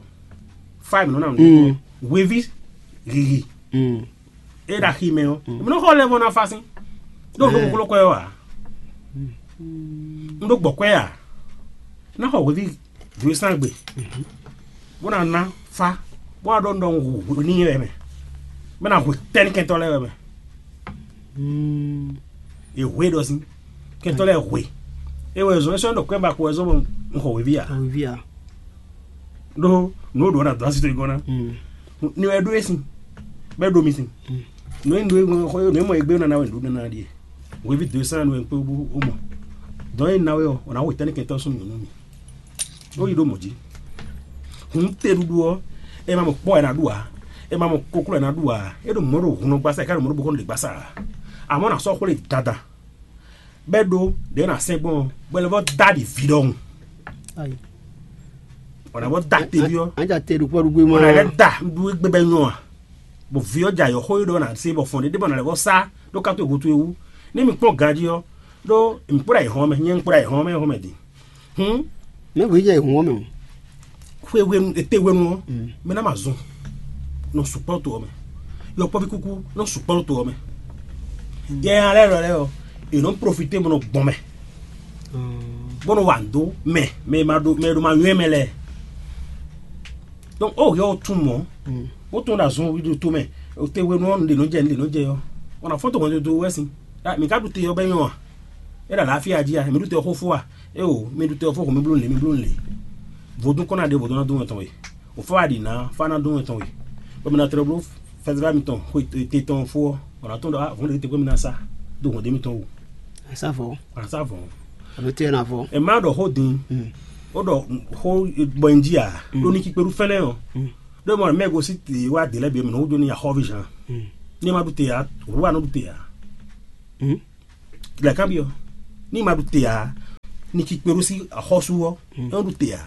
Fa mi nɔ na nuɖuɖu. Wevi hihi. E ɖo axi mɛ ɔ, mi nɔ xɔ lɛ vɔ na fa sin. Ɖo nɔ koklo kɔ ɛ wa. N ɖo gbɔ kɔ ɛ a? Na xɔ wevi dwe sán gbe, bó ná ná fá, bó ná ɖɔ un ɖɔ un hu n'i wɛ mɛ, bó ná hu tɛ́nníkɛntɔ́ lɛ́ɛ wɛ mɛ. È hu e ɖɔ sín kɛntɔ́ lɛ́ɛ hu e. É wɛ zɔn é sɔ́ ɖɔ kwɛ́ ba ko wɛ zɔn bɔ un xɔ wěví ǎ. Wěví ǎ. Ɖó nǔ e ɖǒ ná dó así towe gɔ́n ná. Ni wɛ ɖó e sin, bɔ é ɖó mi sin. Nǔ e un ɖó e gɔ́n xɔ nǔ e mɔ e gbé nana wɛ un ɖó nana ɖíe. Wěví dó e sán nú wɛ un kpé bú ó mɔ. Dɔn e un ná wɛ ɔ́, ɔ́ ná hu tɛ́nníkɛntɔ́ súnnu nyɔ̌nu mi. Ó yi ɖó mɔ̌ jí. Hǔn teɖuɖu ɔ́, è ma mɔ kpɔ́ wɛ è nǎ ɖu ǎ. È ma mɔ kokló wɛ è nǎ ɖu ǎ. É ɖo mɔ̌ ɖo hun nɔ gbasa, è ká ɖo mɔ̌ ɖo bókɔ́nɔ ɖě gbasa ǎ. Amɔ̌ nǎ sɔ́ xwlé dada, bɔ é ɖó ɖě nǎ sɛn gbɔn ɔ́, bɔ è lɛ́ vɔ́ dó aɖi vǐ ɖɔhun. Ayi. Bɔ è nǎ vɔ́ dó ate ví ɔ́. Anja te ɖo kpɔ́ ɖu gbé mɔ. Bɔ è nǎ lɛ́ dó ɖu égbé bɔ é nyɔ́ ǎ. Bɔ vǐ ɔ́ jɛ ayɔ̌xó e ɖɔ ná se bɔ fɔn ɖé ɖé bɔ ná lɛ́ vɔ́ sá ɖó káto e gúdo e wú. Ní mi kpɔ́n ganjí ɔ́, ɖó mi kpó ɖo ayǐhɔ́n mɛ, nyɛ un kpó ɖo ayǐhɔ́n mɛ hɔn mɛ din. Hǔn Mɛ hwe jɛ hun ɔ́ mɛ o. Xwe hwenu ete hwenu ɔ́, mɛ ná ma zɔn nɔ sukpɔ́ to ɔ́ mɛ. Yɔkpɔ́ví kúkú nɔ sukpɔ́ to ɔ́ mɛ. Yɛ alɛ lɔ lɛ ɔ, è nɔ profité bó nɔ gbɔn mɛ, bó nɔ wa nǔ dó mɛ, mɛ e ma ɖo mɛ e ɖo ma nywɛ́ mɛ lɛ́ɛ. Donc ó yɔ ó tún mɔ̌, bó tún ɖo azɔn wi ɖo to mɛ, o te hwenu ɔ́, nǔɖé nɔ jɛ nǔɖé nɔ jɛ ɔ́, ɔn na fɔ́n to hwɛndo dó wɛ sin. Mi ka ɖu te ɔ́ bɛ nyɔ a? É ɖo àlàáfíà jí a? Mi ɖu te ɔ́ xó fó a? Éwo, mi ɖu te ɔ́ fó xo mi bló nǔ lě, mi bló nǔ lě. Vodún kɔn ná ɖe vodún ná dó wɛn tɔn we. Wò fá wa ɖi nǎ, fá ná dó wɛn tɔn we. Bɔ mi ná tlɛ bló fɛzɛ́vá mitɔn xwe te tɔn fó ɔ́, bɔ nǎ tɔn ɖɔ vɔ̌n ɖě tɛgbɛ mi ná sá dó hɔn ɖé mitɔn wú. Asá vɔ̌. Wǎ sá vɔ̌. Àbí tɛ́ ná vɔ̌. È má ɖɔ xó din, ó ɖɔ xó bɔ nyi jí a? Ɖó ní kí kpéɖú fɛ́nɛ́ ɔ́, ɖó mɔ mɛ gosí te wá dě lɛ́ɛ bǐ mɛ nɔ wúdo ní axɔ́ví zan. Ní è má ɖu te ǎ, wǔ wá nɔ ɖu te ǎ. Lɛ̌ kanbyɔ́, ní ma ɖu te ǎ, ní kí kpé ɖó sí axɔ́sú ɔ́, é nɔ ɖu te ǎ,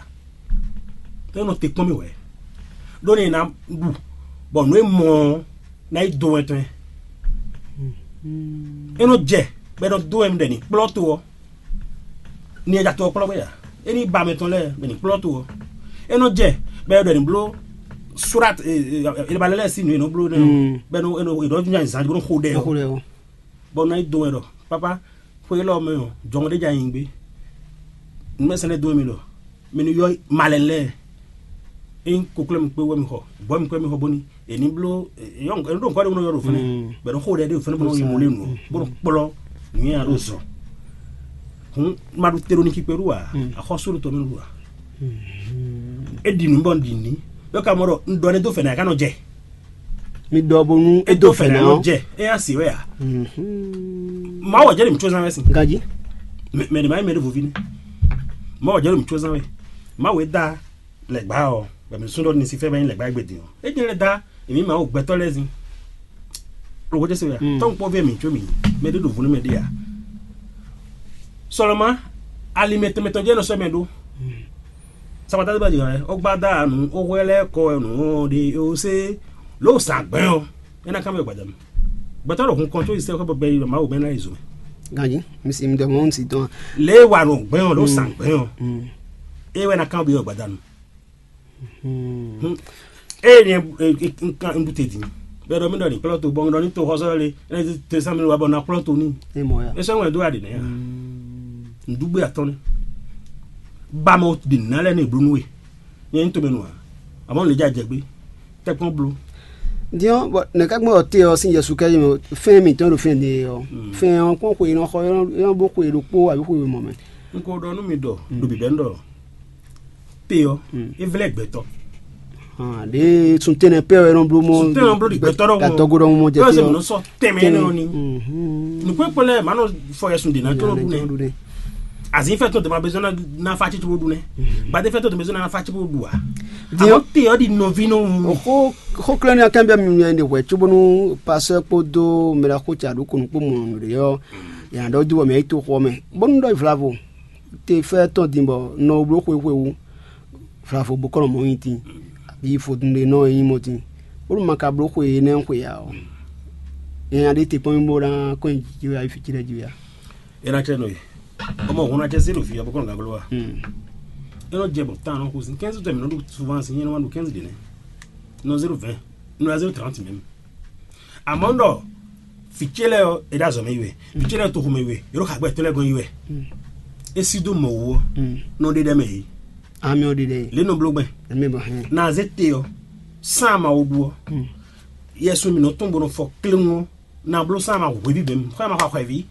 é nɔ te kpɔ́n mì wɛ, ɖó ní è nǎ ɖu bɔ nǔ e mɔ ɔ́ ná yi dó wɛn tɔn ɛ. É nɔ jɛ bɔ é nɔ dó wɛn ɖɛ ní kplɔ́ to ɔ́, ní è ja to ɔ́ kplɔ́ gbé ǎ. É ní ba mɛ tɔn lɛ́ɛ bɔ è ní kplɔ́ to ɔ́. É nɔ jɛ bɔ è ɖɔ è nǐ bló surat, è ba lɛ́ lɛ́ɛ sí nǔ e è nɔ bló nɛ́ ɔ́, bɔ è nɔ è nɔ è nɔ nya zǎn bó nɔ xo ɖɛ ɔ́. Bɔ un ná yi dó wɛn ɖɔ pápá, xwé élɔ́ mɛ ɔ́, jɔhɔn ɖé jɛ nyi gbé. Nǔmɛsɛn lɛ́ɛ dó wɛn mi ɖɔ mi ní yɔ malɛn lɛ́ɛ. Ényí kokló mi kpé wɛ mi xɔ, bɔ̌ mi kpé mi xɔ bóni è ní bló è nɔ ɖo nǔkɔ ɖé bó nɔ yɔ ɖo fɛnɛ, bɔ è nɔ xo ɖɛ ɖé ɖo fɛnɛ bó nɔ yi mɔ lé nǔ ɔ́, bó nɔ kplɔ́ nǔnywɛ́ ɔ́ ɖo zɔ. Hǔn ma ɖu te ɖo niki kpé ɖu ǎ, axɔ́sú ɖo tɔ mɛ ɖu ǎ. É ɖi nǔ bɔ un ɖi nǔ, ɖó ka mɔ ɖɔ un ɖɔ nɛ́ dó fɛ̌ ná é ká nɔ jɛ. Mi ɖɔ bónú é dó fɛ̌ ná nɔ jɛ, é nya si wɛ ǎ. Mawu ɔ́ jɛ ɖe mǐ có zán wɛ sin. Ganjí. Mɛ ɖě ma nyí mɛ ɖěvo ví nɛ́. Mawu ɔ́ jɛ ɖe mǐ có zán wɛ. Mawu e dá lɛ̌gbá ɔ́, bɔ mǐ sún ɖɔ ní sífɛ́ bɔ nyí lɛ̌gbá e gbe din ɔ́. É jɛ́n lɛ́ dá èmi Mawu gbɛtɔ́ lɛ́ɛ zin. Ɖo xó jɛ se wɛ a? Tɔ́nkpɔ́ví e mǐ có mǐ, mɛ ɖé ɖo vo nú mɛ ɖé ǎ. Sɔlɔmɔ, ali mɛtɔn mɛtɔn jɛ́n nɔ sɔ́ mɛ ɖó. Sakpata ɖé ba jɛ wɛ, ó gbá dá nu, ó hwɛ lɛ́ kɔ nǔ ɔ́ ɖe ó sé, lǒ zǎn gbɛ́n ɔ́, é ná kán mɛ gbadanu. Gbɛtɔ́ ɖo hun kɔn có yi sɛ́ xɔ bɔ gbɛ yi Mawu mɛ ná yi zo mɛ. Ganjí, mi si mi dɔ mɔ un si tɔn. Lě e wa nɔ gbɛ́n ɔ́, lǒ zǎn gbɛ́n ɔ́, é wɛ ná kán byɔ́ gbadanu. Eye nyɛ un kan un ɖu te din, bɛ ɖɔ mi ɖɔ ni kplɔ́ to bɔ un ɖɔ ni to xɔsɔ le, ene te sami wa bɔ na kplɔ́ to ni. Emo ya. E sɔ ŋwɛ do aɖi nɛ ya. Ŋɖugbe atɔn ne. Ba mɔ ɖi nalɛ ne blu nu we. Nyɛ n to mɛ nu a? Amɔ le dza dze gbe. Tɛkpɔn blu. Diɔ bɔ ne ka gbɔ te ɔ sin Yesu kɛ yeme fɛn mi tɔn do fɛn de ɔ. Fɛn ɔ kpɔn xwe nɔ xɔ yɔ bo xwe ɖokpo abi xwe mɔ mɛ. N ko ɖɔ nú mi ɖɔ ɖo bibɛ n ɖɔ. Pe ɔ, e vlɛ gbɛtɔ. Ɖe sun tɛnɛ pɛ ɔ ɛnɔ blo mɔ. Sun tɛnɛ blo di gbɛtɔ ɖɔ mɔ. Gatɔgo ɖɔ mɔ jɛ pe ɔ. Sɛ mi nɔ sɔ tɛmɛ nɔ ni. Nukun ekpɔ lɛ ma nɔ fɔ yɛ sun de na tɔ ɖu nɛ. Azin fɛ tɔ dama bezɔn na fa titi bo ɖu nɛ. Gbade fɛ tɔ dama bezɔn na fa titi bo ɖu a. Diɔ te ɔ di nɔvi nɔ. Xo xo klɛn ni akɛn bɛ mi nyɛ de hwɛ tso bonu pasɛ kpodo mɛla xo tsa ɖo konu kpo mɔ nu de yɔ. Yan dɔ du wɔ mɛ yi to xɔ mɛ. Bonu dɔ vlavo. Te fɛ tɔn din bɔ nɔ wo blo xwe xwe wu. Vlavo bo kɔ nɔ mɔ yin tin. Abi fodun de nɔ yin mɔ tin. Olu ma ka bló xwe énɛ́ xwe ǎ ɔ́, nya ɖé te kpɔ́n mì bó ná kɔn nyi jǐ wɛ ayi fí ci lɛ́ɛ jí wɛ ǎ. É ná cɛ nɔ e. Ọmọ òun ná cɛ sí ɖo fí ɔ́ bó kɔn gǎn gló wa. É nɔ jɛ bɔ tán nɔ xo sin quinze tɛ mɛ nɔ ɖo souvent sin nyɛ nɔ ma ɖo quinze ɖe nɛ. Nɔ zéro vingt, nɔ zéro trente même. Àmọ́ ɖɔ vǐ ce lɛ́ɛ ɔ́, è ɖo azɔ̌ mɛ yi wɛ. Vǐ ce lɛ́ɛ toxo mɛ yi wɛ. È ɖo xagbɛ tɔn lɛ́ɛ gɔ́n yi wɛ. É sí dó mɔ wú ɔ́, nɔ ɖe ɖɛ mɛ yě. Amɛ ɔ ɖe ɖɛ. Lě nɔ bló gbɛn. Amɛ bɔ hɛn. Na zé te ɔ́, sán ama wo ɖu ɔ́, yɛ sun mǐ nɔ tɔn bó nɔ fɔ kléŋu ɔ́, na bló sán ama hweví bɛ́ mɛ, xɔ ama xɔ axɔɛví,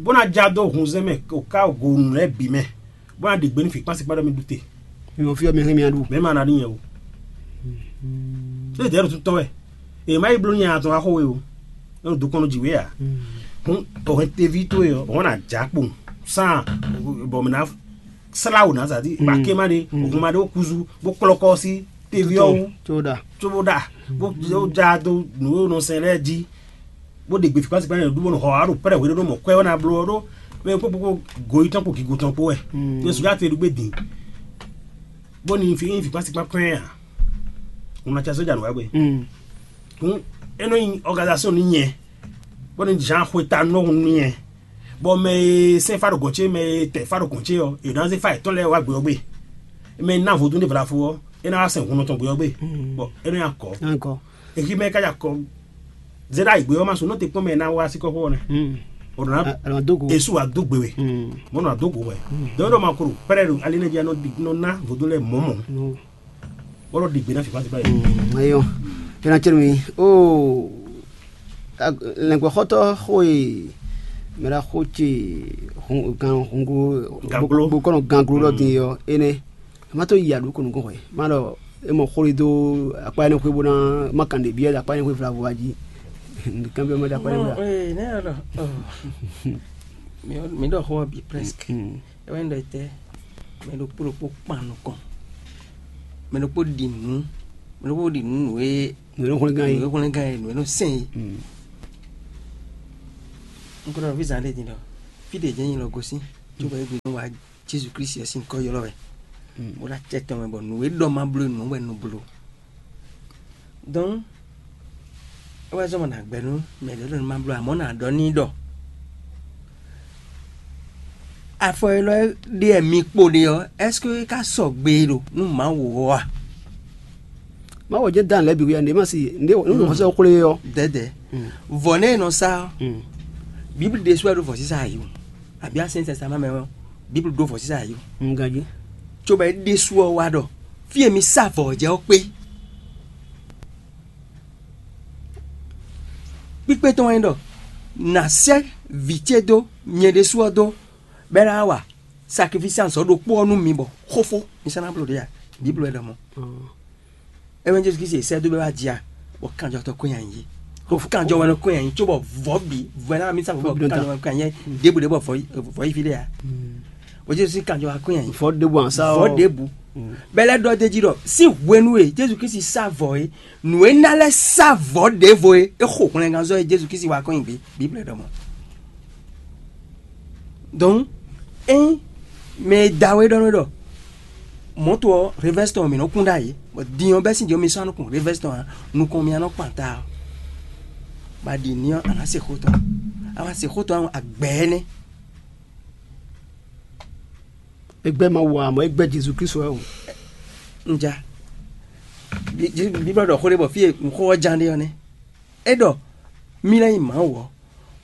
bó ná ja dó hunzɛn mɛ, o ka go nǔ lɛ́ɛ bǐ mɛ, bó ná ɖe gbe nú fǐkpán síkpá ɖɔ mì ɖu te. Mi mɔ fí ɔ́ mi hɛn mi aɖu. Mɛ ma ná ɖi nyɛ o. Ṣé dɛ̌ ɖo tɔ́ wɛ? È má yi bló nya atɔn axó we o. É ɖo dukɔn nɔ jǐ we ǎ. Hǔn o hɛn teví towe ɔ́, o hɔn ná dza kpo sán bɔ mɛ ná slá wò ná zǎ dí ba ké má ɖe, o hɔn ma ɖe ó kúzú bó kplɔ́ kɔ́ sí teví ɔ́ wú. Tó ɖa. Tó bó ɖa bó já dó nǔ e nɔ sɛn lɛ́ɛ jí, bó ɖe gbe fǐkpá síkpá nyi ɖu bó nɔ xɔ wá ɖo pɛ́rɛ hweɖéɖó mɔ kwɛ́ ɔ́ ná bló ɔ́ ɖó mɛ kpókpó goyítɔ́n kpo gǐgotɔ́n kpó wɛ. Ní sùgbọ́n ate ɖu gbé din bó ní fi fi kpasi kpakpɛn a, un na tsa sójà nù wá gbe. Kun e nɔ nyi organisation ni nyɛ bó ní Jean xwe ta nɔ hun ni nyɛ bɔ mɛ e sɛn fa ɖo gɔn ce mɛ e tɛ fa ɖo gɔn ce ɔ e na zé fa yětɔn lɛ wá gbe ɔ gbe mɛ e ná vodún ɖe vlafo ɔ e na wá sɛn hun nɔtɔn gbe ɔ gbe bɔ e nɔ nya kɔ Encore. Eki mɛ ka nya kɔ zé ɖa igbe ɔ ma su nɔ te kpɔn mɛ e na wá sí kɔxɔ ɔ nɛ. O nɔ na Alɔ dogo. Esu wa do gbe we. Mo nɔ do go wɛ. Donc ɖo ma koro pɛrɛ ɖo ali ne dzi anɔ di nɔ na vodún lɛ mɔmɔ. Wɔlɔ ɖi gbe na fi kpasi kpasi. Eyɔ. Ena tsɛ mi o lɛngbɛxɔtɔ xo e mɛ ɖa xo ce gan hungo Ganglo. Bokɔnɔ ganglo ɖɔ din yɔ ene. Ma to yi aɖu ko nukɔn xwe ma ɖɔ e mɔ xwle dó akpa énɛ́ xwé bó ná ma kan ɖě byɔ́ akpa énɛ́ xwé vlavo wá jí. Kan byɔ́ ma ɖo akpa énɛ́ xwé. Ee ne yɔ ɖɔ mi ɖɔ xó ɔ́ bǐ presque. Ewɛ ɖɔ tɛ mɛ ɖokpó ɖokpó kpan nukɔn, mɛ ɖokpó ɖi nǔ, mɛ ɖokpó ɖi nǔ nǔ e Nǔ e nɔ hwlɛ́ngán é. Nǔ e hwlɛ́ngán é, nǔ e nɔ sɛn é. Un ko ɖɔ nɔví zán ɖé din ɖɔ fí ɖě jɛ́n nyí lɔ gosín, cóbɔ é gbe nú wa Jezu Klísu ɔ́ sín nyǐkɔ ylɔ́ wɛ, bó ɖo acɛ tɔn mɛ bɔ nǔ e ɖɔ ma bló é nǔ wɛ un nɔ bló. Dɔn é wɛ zɔ́n bɔ nǎ gbɛ́ nú mɛ ɖě ɖɔ nú ma bló, amɔ̌ nǎ ɖɔ n'i ɖɔ afɔ élɔ́ ɖé wɛ mi kpo ɖe ɔ́, ɛ́seke é ka sɔgbe ɖo nú Mawu ɔ́ a? Mawu jɛ́n dán lɛ̌ bǐ wú ya, nǔɖé ma si nǔɖé nǔ xɔsɛ xwlé ɔ́. Dɛ̌dɛ̌. Vɔ̌ nɛ́ e nɔ sa ɔ́, Bíblu ɖésú wɛ ɖó vɔ̌sísá ayǐ o, abǐ asɛn sɛsɛ ma mɛ ɔ́, Bíblu ɖó vɔ̌sísá ayǐ o. Un ganjí. Cóbɔ é ɖésú ɔ́ wá ɖɔ fí e mi sá vɔ̌ ɔ́ jɛ ɔ́ kpé. Kpíkpé tɔn wɛ nyí ɖɔ nǎ sɛ́ vǐ ce dó nyɛ ɖésú ɔ́ dó, bɔ é ná wa saklifísi azɔ̌ ɖokpó ɔ́ nú mi bɔ xófó mi sɔ́ ná bló ɖě a? Bíblu wɛ ɖɔ mɔ̌. É wɛ nyí Jezu Klísu e sɛ́ dó bɔ é wá jɛ a, bɔ kanjɔtɔ́ kɔn nyi ayǐ. Bɔ kanjɔ wɛ nɔ kɔn nyi ayǐ, cóbɔ vɔ̌ bǐ vɔ̌ ná mi sá vɔ̌ Vɔ̌ bǐ nɔ ta. Kanjɔ wɛ kɔn nyi ayǐ, ɖěbǔ ɖě bɔ vɔ̌ vɔ̌ yi fí ɖé a? Bɔ Jezu sín kanjɔ wá kɔn nyi ayǐ. Vɔ̌ ɖěbǔ a sá Vɔ̌ ɔ́. Ɖěbǔ. Bɛlɛ ɖɔ d'é jí ɖɔ sín hwenu e Jezu Klísu sá vɔ̌ é, nǔ e ná lɛ́ sá vɔ̌ ɖěvo é, é xo hwlɛngánzɔ́ e Jezu Klísu wá kɔn nyi gbé. Bíblu ɖɔ mɔ̌. Donc ényí mɛ e da we ɖɔ nú ɖɔ mɔ̌to ɔ́, revɛ́si tɔn mǐ nɔ kún ɖ'ayǐ, bɔ din ɔ́ bɛ́ sín din ɔ́ mi sɔ́ nukɔn revɛ́si tɔn ǎ, nukɔn mì nɔ kpan ta ɔ́, bɔ a ɖi n'i ɔ́, a nǎ se xó tɔn. A ma se xó tɔn ɔ́, a gbɛ̌ énɛ́. È gbɛ́ Mawu ǎ, amɔ̌ è gbɛ́ Jezu Klísu wɛ o. Un ja. Bíblɔ ɖɔ xó ɖé bɔ fí e xó ɔ́ ján ɖe ɔ́ nɛ́. É ɖɔ mì lɛ́ nyí Mawu ɔ́,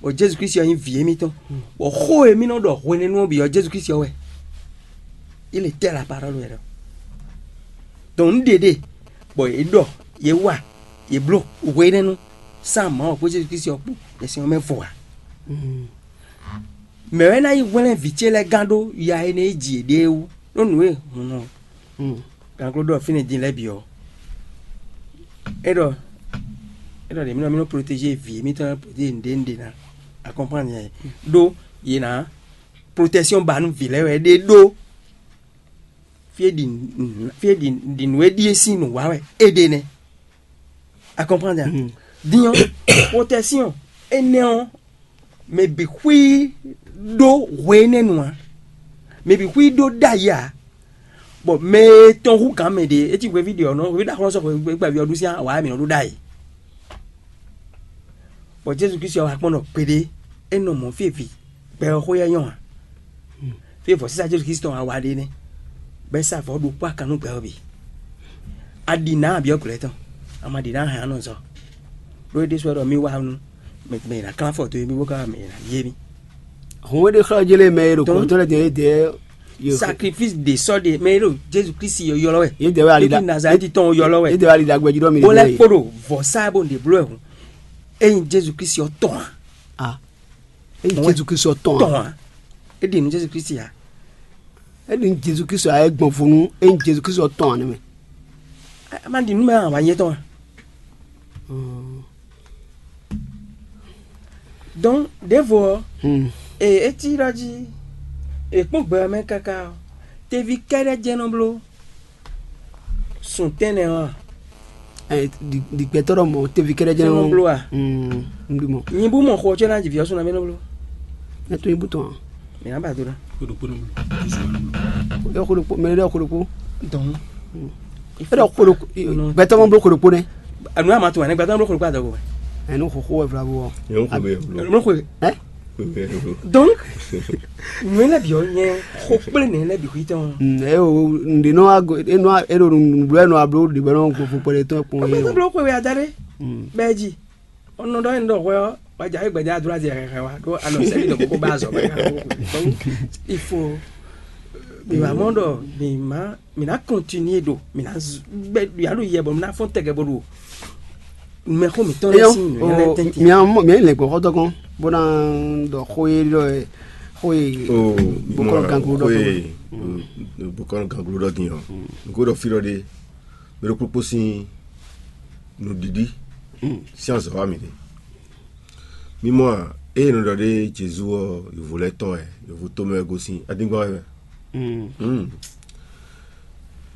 bɔ Jezu Klísu ɔ́ nyí vǐ émítɔn, bɔ xó e mì nɔ ɖɔ hwenɛ́nu ɔ́ bǐ ɔ́, Jezu Klísu ɔ́ wɛ. Il était la parole wɛ ɖɔ. Donc nǔ ɖě ɖe bɔ yě ɖɔ, yě wa, yě bló hwenɛ́nu sán Mawu kpó Jezu Klísu ɔ́ kpó ɖo sin ɔ́ mɛ vo ǎ. Mɛ̌ wɛ ná yi hwlɛ́n vǐ ce lɛ́ɛ gán ɖó ya énɛ́ e ji yěɖée wú, ɖó nǔ e hun ɔ́, gǎngló ɖɔ fínɛ́ din lɛ́ɛ bǐ ɔ́, é ɖɔ é ɖɔ ɖě mì nɔ mì nɔ protéger vǐ émítɔn, protéger nǔɖé nǔɖé ná, a comprendre nyɛ? Ɖó yě ná protection ba nú vǐ lɛ́ɛ wɛ é ɖe ɖó. Fí e ɖi nǔ- fí e ɖi ɖi nǔ e ɖíe sín nǔ wa wɛ é ɖe nɛ́. A comprendre a? Din ɔ́, protection énɛ́ ɔ́, mɛ bǐ xwí ɖó hwe énɛ́ nu ǎ. Mɛ bǐ xwí ɖó ɖ'ayǐ ǎ. Bɔ mɛ e tɔn hú gǎn mɛ ɖě, é cí hweví ɖě ɔ́ nɔ hweví ɖaxó nɔ sɔ́ hweví gbɛ́gbɛ́ví ɔ́ ɖu sín awǎ e mǐ nɔ ɖu ɖ'ayǐ. Bɔ Jezu Klísu ɔ́ wá kpɔ́n ɖɔ kpéɖé, é nɔ mɔ̌ fí e vǐ gbɛ ɔ́ xó yɛ nyɔ́ ǎ. Fí e vɔ̌sísá Jezu Klísu tɔn wá wa ɖe nɛ́, bɔ é sá vɔ̌ ɖokpó akan nú gbɛ ɔ́ bǐ. A ɖi nǎ a byɔ́ glɔ̌ tɔn, a ma ɖi nǎ a hɛn anɔzɔ. Ɖó é ɖésú wɛ ɖɔ mì wá nú mɛ mɛ e ná klán afɔ dó émí bó ka wá mɛ e ná yí émí. Hɔn é ɖe xlɔ́ jélé mɛ e ɖo Donc, kɔ̌ntɔn lɛ́ɛ din é dɛɛ. Sakrifísi ɖě sɔ́ ɖe mɛ e ɖo Jezu Klísu ylɔ́ wɛ. Yě dɛɛ wɛ ali Ɖo Nazalɛ́ti tɔn ylɔ́ wɛ. Yě dɛɛ wɛ ali ɖagbe jí ɖɔ mi Bó lɛ́ kpó ɖo vɔ̌sá bó ɖě bló wɛ hǔn. Ényí Jezu Klísu ɔ́ tɔn ǎ. A, ényí Jezu Klísu ɔ́ tɔn ǎ. Tɔn ǎ. É ɖi nǔ Jezu Klísu ǎ. É ɖi nú Jezu Klísu ǎ é gbɔn vo nú ényí Jezu Klísu ɔ́ tɔn ǎ nɛ́ mɛ. A ma ɖi nǔ mɛ awǎ nyɛ tɔn ǎ. Donc ɖěvo ɔ́, e é cí ɖɔ jí è kpɔ́n gbɛ ɔ́ mɛ káká ɔ́, teví kɛ́ɖɛ́ jɛ́n nɔ bló sun tɛ́nnɛ ɔ́ a? Ɛ, ɖi- ɖi gbɛtɔ́ ɖɔ mɔ̌ teví kɛ́ɖɛ́ jɛ́n Jɛ́n nɔ nɔ bló a? Mm, un ɖi mɔ̌. Nyi bú mɔ xo ɔ́ có ná ji vǐ ɔ́ sun ná mɛ nɔ bló. Ɛ tó nyi bú tɔn a? Mǐ ná ba do ná. Xó ɖokpó nɔ bló. Ɛ xó ɖokpó mɛ ɖɔ xó ɖokpó. Donc É ɖɔ xó ɖokpó. Gbɛtɔ́ mɔ bló xó ɖokpó nɛ́. Anu ama tún wɛ ne gbɛtɔ́ mɔ bló xó ɖokpó adɔgo wɛ. Ɛ nú xóxó wɛ vlavo ɔ. Yẹn ń kó bẹ́ẹ̀ lọ. Mɔ xó. Ɛ? Donc nù lɛ bi ɔ nyɛ xó kplé nɛ lɛ bi xwí tɔn. Ɛ o ǹdè nɔ ago e nɔ e ɖo nùblɔ ɛ nɔ ablo ɖe bɛ nɔ gbɔfo kpɛɖe tɔn kpɔn Gbɛtɔ́ yɛ. Bló xó wɛ ada ɖé. Bɛɛ ji. Ɔnɔ ɖɔ yin ɖɔ hwɛ ɔ, wajá yi gbɛdɛ adúlá zɛ hɛhɛ wa ɖó anɔ sɛbi ɖɔ kókó bá azɔ bá yà kó. Donc il faut mi wà mɔ ɖɔ mi ma mi na continuer ɖo mi na gbɛ ya ɖo yɛ bɔ mi na fɔn tɛgɛ bɔ ɖo mɛ xó mi tɔn lɛ Eyɔn, sin mi lɛ o, tɛnti. Mia mɔ mia lɛ gbɔ xɔtɔ kɔn, bó ná ɖɔ xó e ɖɔ xó e. O, bokɔnɔ ganglo ɖɔ xó e bokɔnɔ ganglo ɖɔ din ɔ, nukó ɖɔ fí ɖɔ ɖe. Mɛ ɖokpokpo sín nǔɖiɖi sín azɔ̌ wa mǐ ɖe. Mi mɔ a, ée è nɔ ɖɔ ɖé Jezu ɔ́, yǒvo lɛ́ɛ tɔn wɛ, yǒvo tomɛ wɛ gosín adingban wɛ mɛ.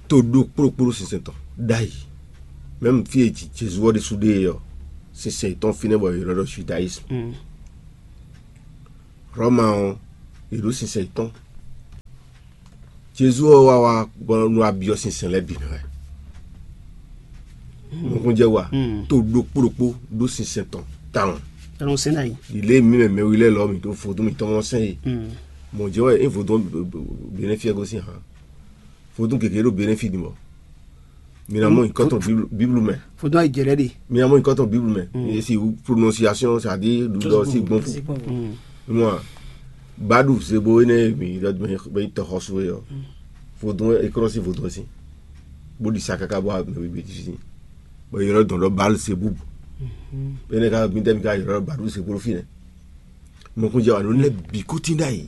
To ɖokpó ɖokpó ɖo sinsɛn tɔn ɖ'ayǐ. Mɛ̌m fí e Jezu ɔ́ ɖésú ɖe é ɔ́, sinsɛn yětɔn fínɛ́ bɔ è nɔ ɖɔ Judaisme. Hlɔ̌ma ɔ́, yě ɖo sinsɛn yětɔn. Jezu ɔ́ wá wá bɔ nú abyɔ́ sinsɛn lɛ́ɛ bǐ mɛ wɛ. Nukúnjɛ wa to ɖokpó ɖokpó ɖó sinsɛn tɔn tawun. Ɛnɔ sɛn ɖ'ayǐ. Ɖi lě e mǐ mɛ mɛwi lɛ́ɛ lɔ mǐ ɖó vodún mǐtɔn mɔ sɛn e. Mɔ̌ jɛ wɛ é vodún Benɛ́fi ɔ́ gosín hǎn. Vodún gěgé ɖo Benɛ́fi din bɔ mi ná mɔ nyǐkɔ tɔn Bíblu mɛ. Vodún ayǐ jɛ lɛ́ ɖe. Mi ná mɔ nyǐkɔ tɔn Bíblu mɛ. E si prononciation, c'est-à-dire ɖuɖɔ sí gbɔn fu. Mɔ baɖu zebo énɛ́ mi ɖɔ bɛ yi tɔ xɔsu é ɔ. Vodún é krɔ́ sí vodún sí. Bó ɖi sa káká bó mɛ bíbí ti sí. Bɔ yɔrɔ dɔn ɖɔ Baal Zebub. Énɛ́ ká mi tɛ mi ká yɔrɔ baɖu zebo ɖo fínɛ́. Mɔkúnjɛ wa nǔ lɛ́ɛ bǐ kútín ɖ'ayǐ.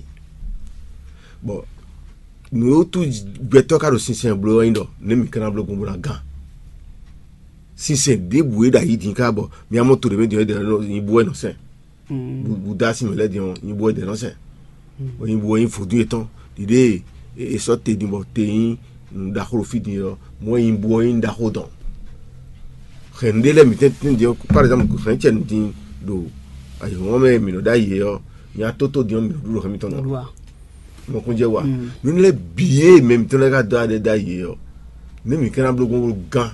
Bɔ nǔ e wútu gbɛtɔ́ ka ɖo sinsɛn bló ɔ́ nyí ɖɔ nɛ̌ mǐ ka ná bló gbɔn bó ná gán. Sinsɛn ɖěbǔ e ɖo ayǐ din ká bɔ mi ná mɔ to ɖě mɛ din ɔ́, nyi bú wɛ nɔ sɛn. Búdá sín mɛ lɛ́ɛ din ɔ́, nyi bú wɛ dɛ̌ nɔ sɛn. Bɔ nyi bú wɛ nyí vodún yětɔn. Ɖiɖée è sɔ́ te din bɔ te nyí nǔ ɖaxó ɖo fí din ɔ́, mɔ̌ e nyí bú ɔ́ nyí nǔ ɖaxó dɔn. Hɛ̌nnu ɖé lɛ́ɛ mǐtɛn tɛ́ntin din ɔ́, par exemple hɛ̌nnu ce din ɖo ayǐhɔ́ngɔ́n mɛ e mǐ nɔ ɖó ayǐ é ɔ́, nya tótó din ɔ́ mǐ nɔ ɖu ɖo hɛ̌n mitɔn ná. Mɔkúnjɛ wa nǔ lɛ́ɛ bǐ e mɛ mǐtɔn lɛ́ɛ ka dó aɖɛ dó ayǐ é ɔ́, nú mǐ ka ná bló gbɔn gán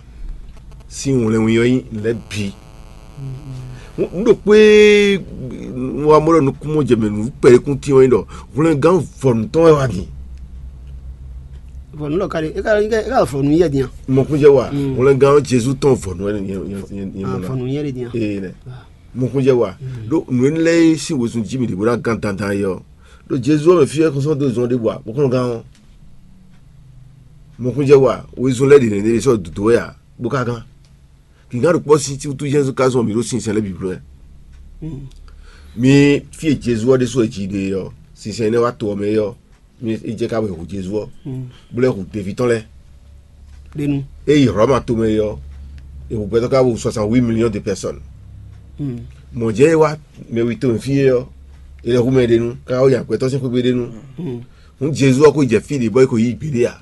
sín wlɛnwin ɔ́ nyí nǔ lɛ́ɛ bǐ. Nǔ ɖokpó e wa mɔ ɖɔ nukúnmɔjɛmɛ nǔ kpɛɖékún tín ɔ́ nyí ɖɔ hwlɛngán vɔ̌nu tɔn wɛ wá din. Vɔ̌nu lɔ ka ɖe é ka é ka vɔ̌nu yɛ din a? Mɔkúnjɛ wa hwlɛngán Jezu tɔn vɔ̌nu wɛ nyɛ nyɛ nyɛ mɔ ná. Vɔ̌nu yɛ ɖe din a? Ee nɛ. Mɔkúnjɛ wa ɖó nǔ énɛ́ lɛ́ɛ e sín wezun jí mì ɖě bó ná gán dandan é ɔ́, ɖo Jezu ɔ́ mɛ fí wɛ xɔ́sɔ́ dó zɔn ɖěbǔ ǎ, bó kɔn gán ɔ́. Mɔkúnjɛ wa wezun lɛ́ɛ ɖě nɛ́ ɖé sɔ́ dǒdó wɛ ǎ, bó ka gán. Gǐngán ɖo kpɔ́ sín wútu Jezu ka zɔn mǐ ɖó sinsɛn lɛ́ɛ bǐ bló wɛ. Mi fí e Jezu ɔ́ ɖésú wɛ jǐ ɖe ɔ́, sinsɛn énɛ́ wá to ɔ́ mɛ é ɔ́, mi é jɛ ká bɔ è hu Jezu ɔ́, bó lɛ́ hu deví tɔn lɛ́ɛ. Ɖenu. É yi Hlɔ̌ma tomɛ é ɔ́, è hu gbɛtɔ́ ká hu soixante-huit millions de personnes. Mɔ̌ jɛ́n é wá mɛ wi tomɛ fí é ɔ́, è lɛ́ hu mɛ ɖenu, ká wá nya gbɛtɔ́ sín xwé gbe ɖenu. Hǔn Jezu ɔ́ ko jɛ fí ɖě bɔ é ko yí gbeɖé ǎ.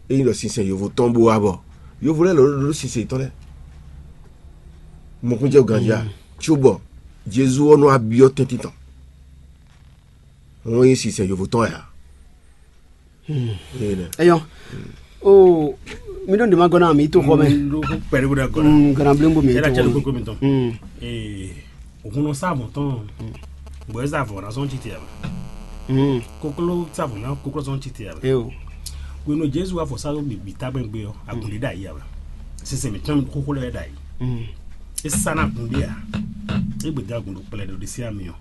É nyí ɖɔ sinsɛn yovo tɔn bó wá bɔ yovo lɛ́ɛ lɔ ɖó sinsɛn yětɔn lɛ́ɛ. Mɔkúnjɛ ganjí a? Cóbɔ Jezu ɔ́ nɔ wá byɔ́ tɛ́ntin tɔn. Wọ́n nyí sinsɛn yovo tɔn wɛ ǎ. Eyɔ. O, mi ɖo ŋɖe ma gɔ́ ná mi to xɔ mɛ. Ɖo kpɛɖé bó ɖe gɔ́ ná. Gɔ́ ná bléŋ bó mi to xɔ mɛ. Ee, òkun nɔ sá avɔn tɔn. Bɔ eza avɔn na zɔn titi aba. Koklo sa avɔn na koklo zɔn titi aba. Eyo. Wenu Jesu wa fɔ sa bi ta gbɛn gbe ɔ, agun ɖe da yi aba. Sese mi tɔn xóxó lɛ da yi. Esa na gun ɖe a. Egbe da gun ɖo kplɛ ɖo ɖe si ami ɔ.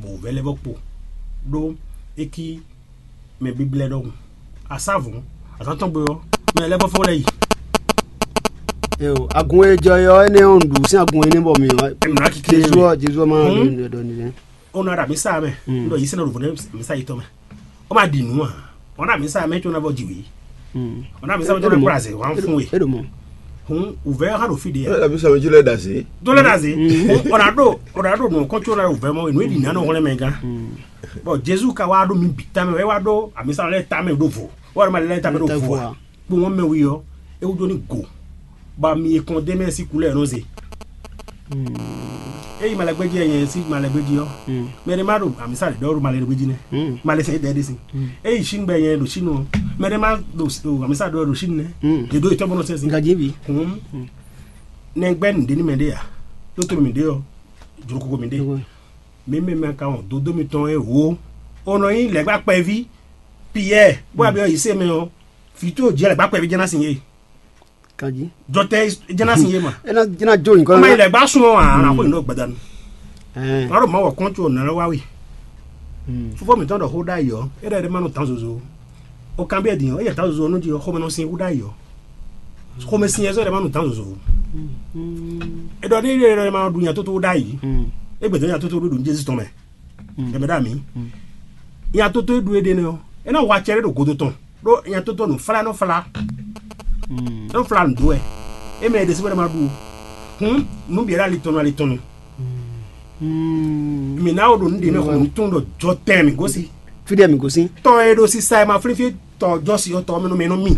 Bɔ wǔvɛ́ lɛ́ vɔ kpo ɖó é cí mɛ bíblɛ́ ɖɔhun. Asávɔ̌n azǎn tɔn gbe ɔ́, mɛ lɛ́ɛ vɔ fɔ́n lɛ́ yi. Yo, agun e jɔ ɔ́, énɛ́ ɔ́, un ɖu sín agun énɛ́ bɔ mi ɔ. Jezu ɔ́, Jezu ɔ́ ma ɖɔ ɖɔ nìyẹn. Ó ná ɖo amǐsa mɛ, un ɖɔ yě sɛ́n ná ɖo vɔ̌ nɛ́ amǐsa yětɔn mɛ. Ó ma ɖi nǔ ǎ. Ɔ́ ná amǐsa mɛ có ná vɔ jǐ wě. Ɔ́ ná amǐsa mɛ có ná kplá azě wǎn fún we. É ɖo mɔ. Hun wǔvɛ́ ɔ́ há ɖo fí ɖé ǎ. Ɔ́ ná amǐsa mɛ có lɛ́ ɖo azě. Tó lɛ́ ɖo azě. Ɔ́ ná ɖo ɔ́ ná ɖo nǔ kɔn có ná ɖo wǔvɛ́ mɔ nǔ e ɖi nǎ nɔ hwlɛ́n mɛ gán. Bɔ Jezu ka wá ɖó mi bǐ tamɛ, é wá ɖó amǐsa lɛ́ɛ tamɛ ɖó vo. Wá ɖó ma lɛ́ɛ tamɛ ɖó vo ǎ. Kpowun mɛ wi ɔ́, é wúdo ní go, bɔ ami e kɔn d'é mɛ sín kulɛ́ ɔ́ nɔ ze. Ényí malɛgbéjí wɛ nyɛ sín malɛgbéjí ɔ́, mɛ ɖé ma ɖo amisa ɖe ɖɔ ɖo malɛgbéjí nɛ́, malɛ sɛn ɖɛ ɖé sin. Ényí Chine gbɛ nyɛ ɖo Chine ɔ́, mɛ ɖé ma ɖo amisa ɖɔ ɖo Chine nɛ́, ɖe ɖo etɔ́ bɔ nɔ sɛn sin. Gajibi. Hǔn nɛgbɛ́ nǔɖé ní mɛ ɖé ǎ, ɖó to mɛ ɖé ɔ́, jlokoko mɛ ɖé. Mi mɛ mɛ ka wɔn dodó mitɔn e wǒ, o nɔ nyí lɛ̌gbá kpɛví Piyɛ́ɛ, bó wá byɔ́ yǐ se mɛ ɔ́, vǐ towe jɛ lɛ̌gbá kpɛví jɛ́n ná sin yé. Kanjí. Jɔtɛ jɛ́n ná sin yé ma. É ná é ná jó nyǐkɔ. Ɔmɛ yi lɛ̌gbá sún ɔ́ ǎ, ná xó yǐ nɔ gbadanu. Ɛɛ. Ná ɖo Mawu kɔn tso nǎ lɔ wá we. Fofó mǐtɔn ɖɔ xó ɖ'ayǐ ɔ́, é ɖɔ é ma nɔ dǎn zozo. O kanbyɔ́ din ɔ́, é yɛ dǎn zozo ɔ́ nú jí ɔ́, xomɛ nɔ sin xú ɖ'ayǐ ɔ́. Xomɛ sin yɛ zɔ́ é ɖɔ é ma nɔ dǎn zozo. É ɖɔ ɖé é ɖɔ é ma nɔ ɖu nya tótó ɖ'ayǐ. É gbɛdɔ́ nya tótó ɖó ɖo Jezu tɔn mɛ. Ɛmɛ ɖo ami. Nya tótó e ɖu éɖée nɛ́ ɔ́, é ná wa acɛ ɖé ɖo godo tɔn, ɖó nya tótó nǔ flá nɔ flá. É nɔ flá nǔ dó wɛ. É mɛ e ɖe sí bɔ é ma ɖu o. Hǔn nǔ bǐ ɖo ali tɔn nú ali tɔn nu. Mǐ ná wo ɖo nǔ ɖě mɛ xɔ nǔ tún ɖɔ jɔ tɛn mǐ gosín. Fí ɖé mǐ gosín. Tɔ e ɖo sisa e ma flín fí tɔ jɔ si ɔ́ tɔ mɛ nú mɛ nú mì.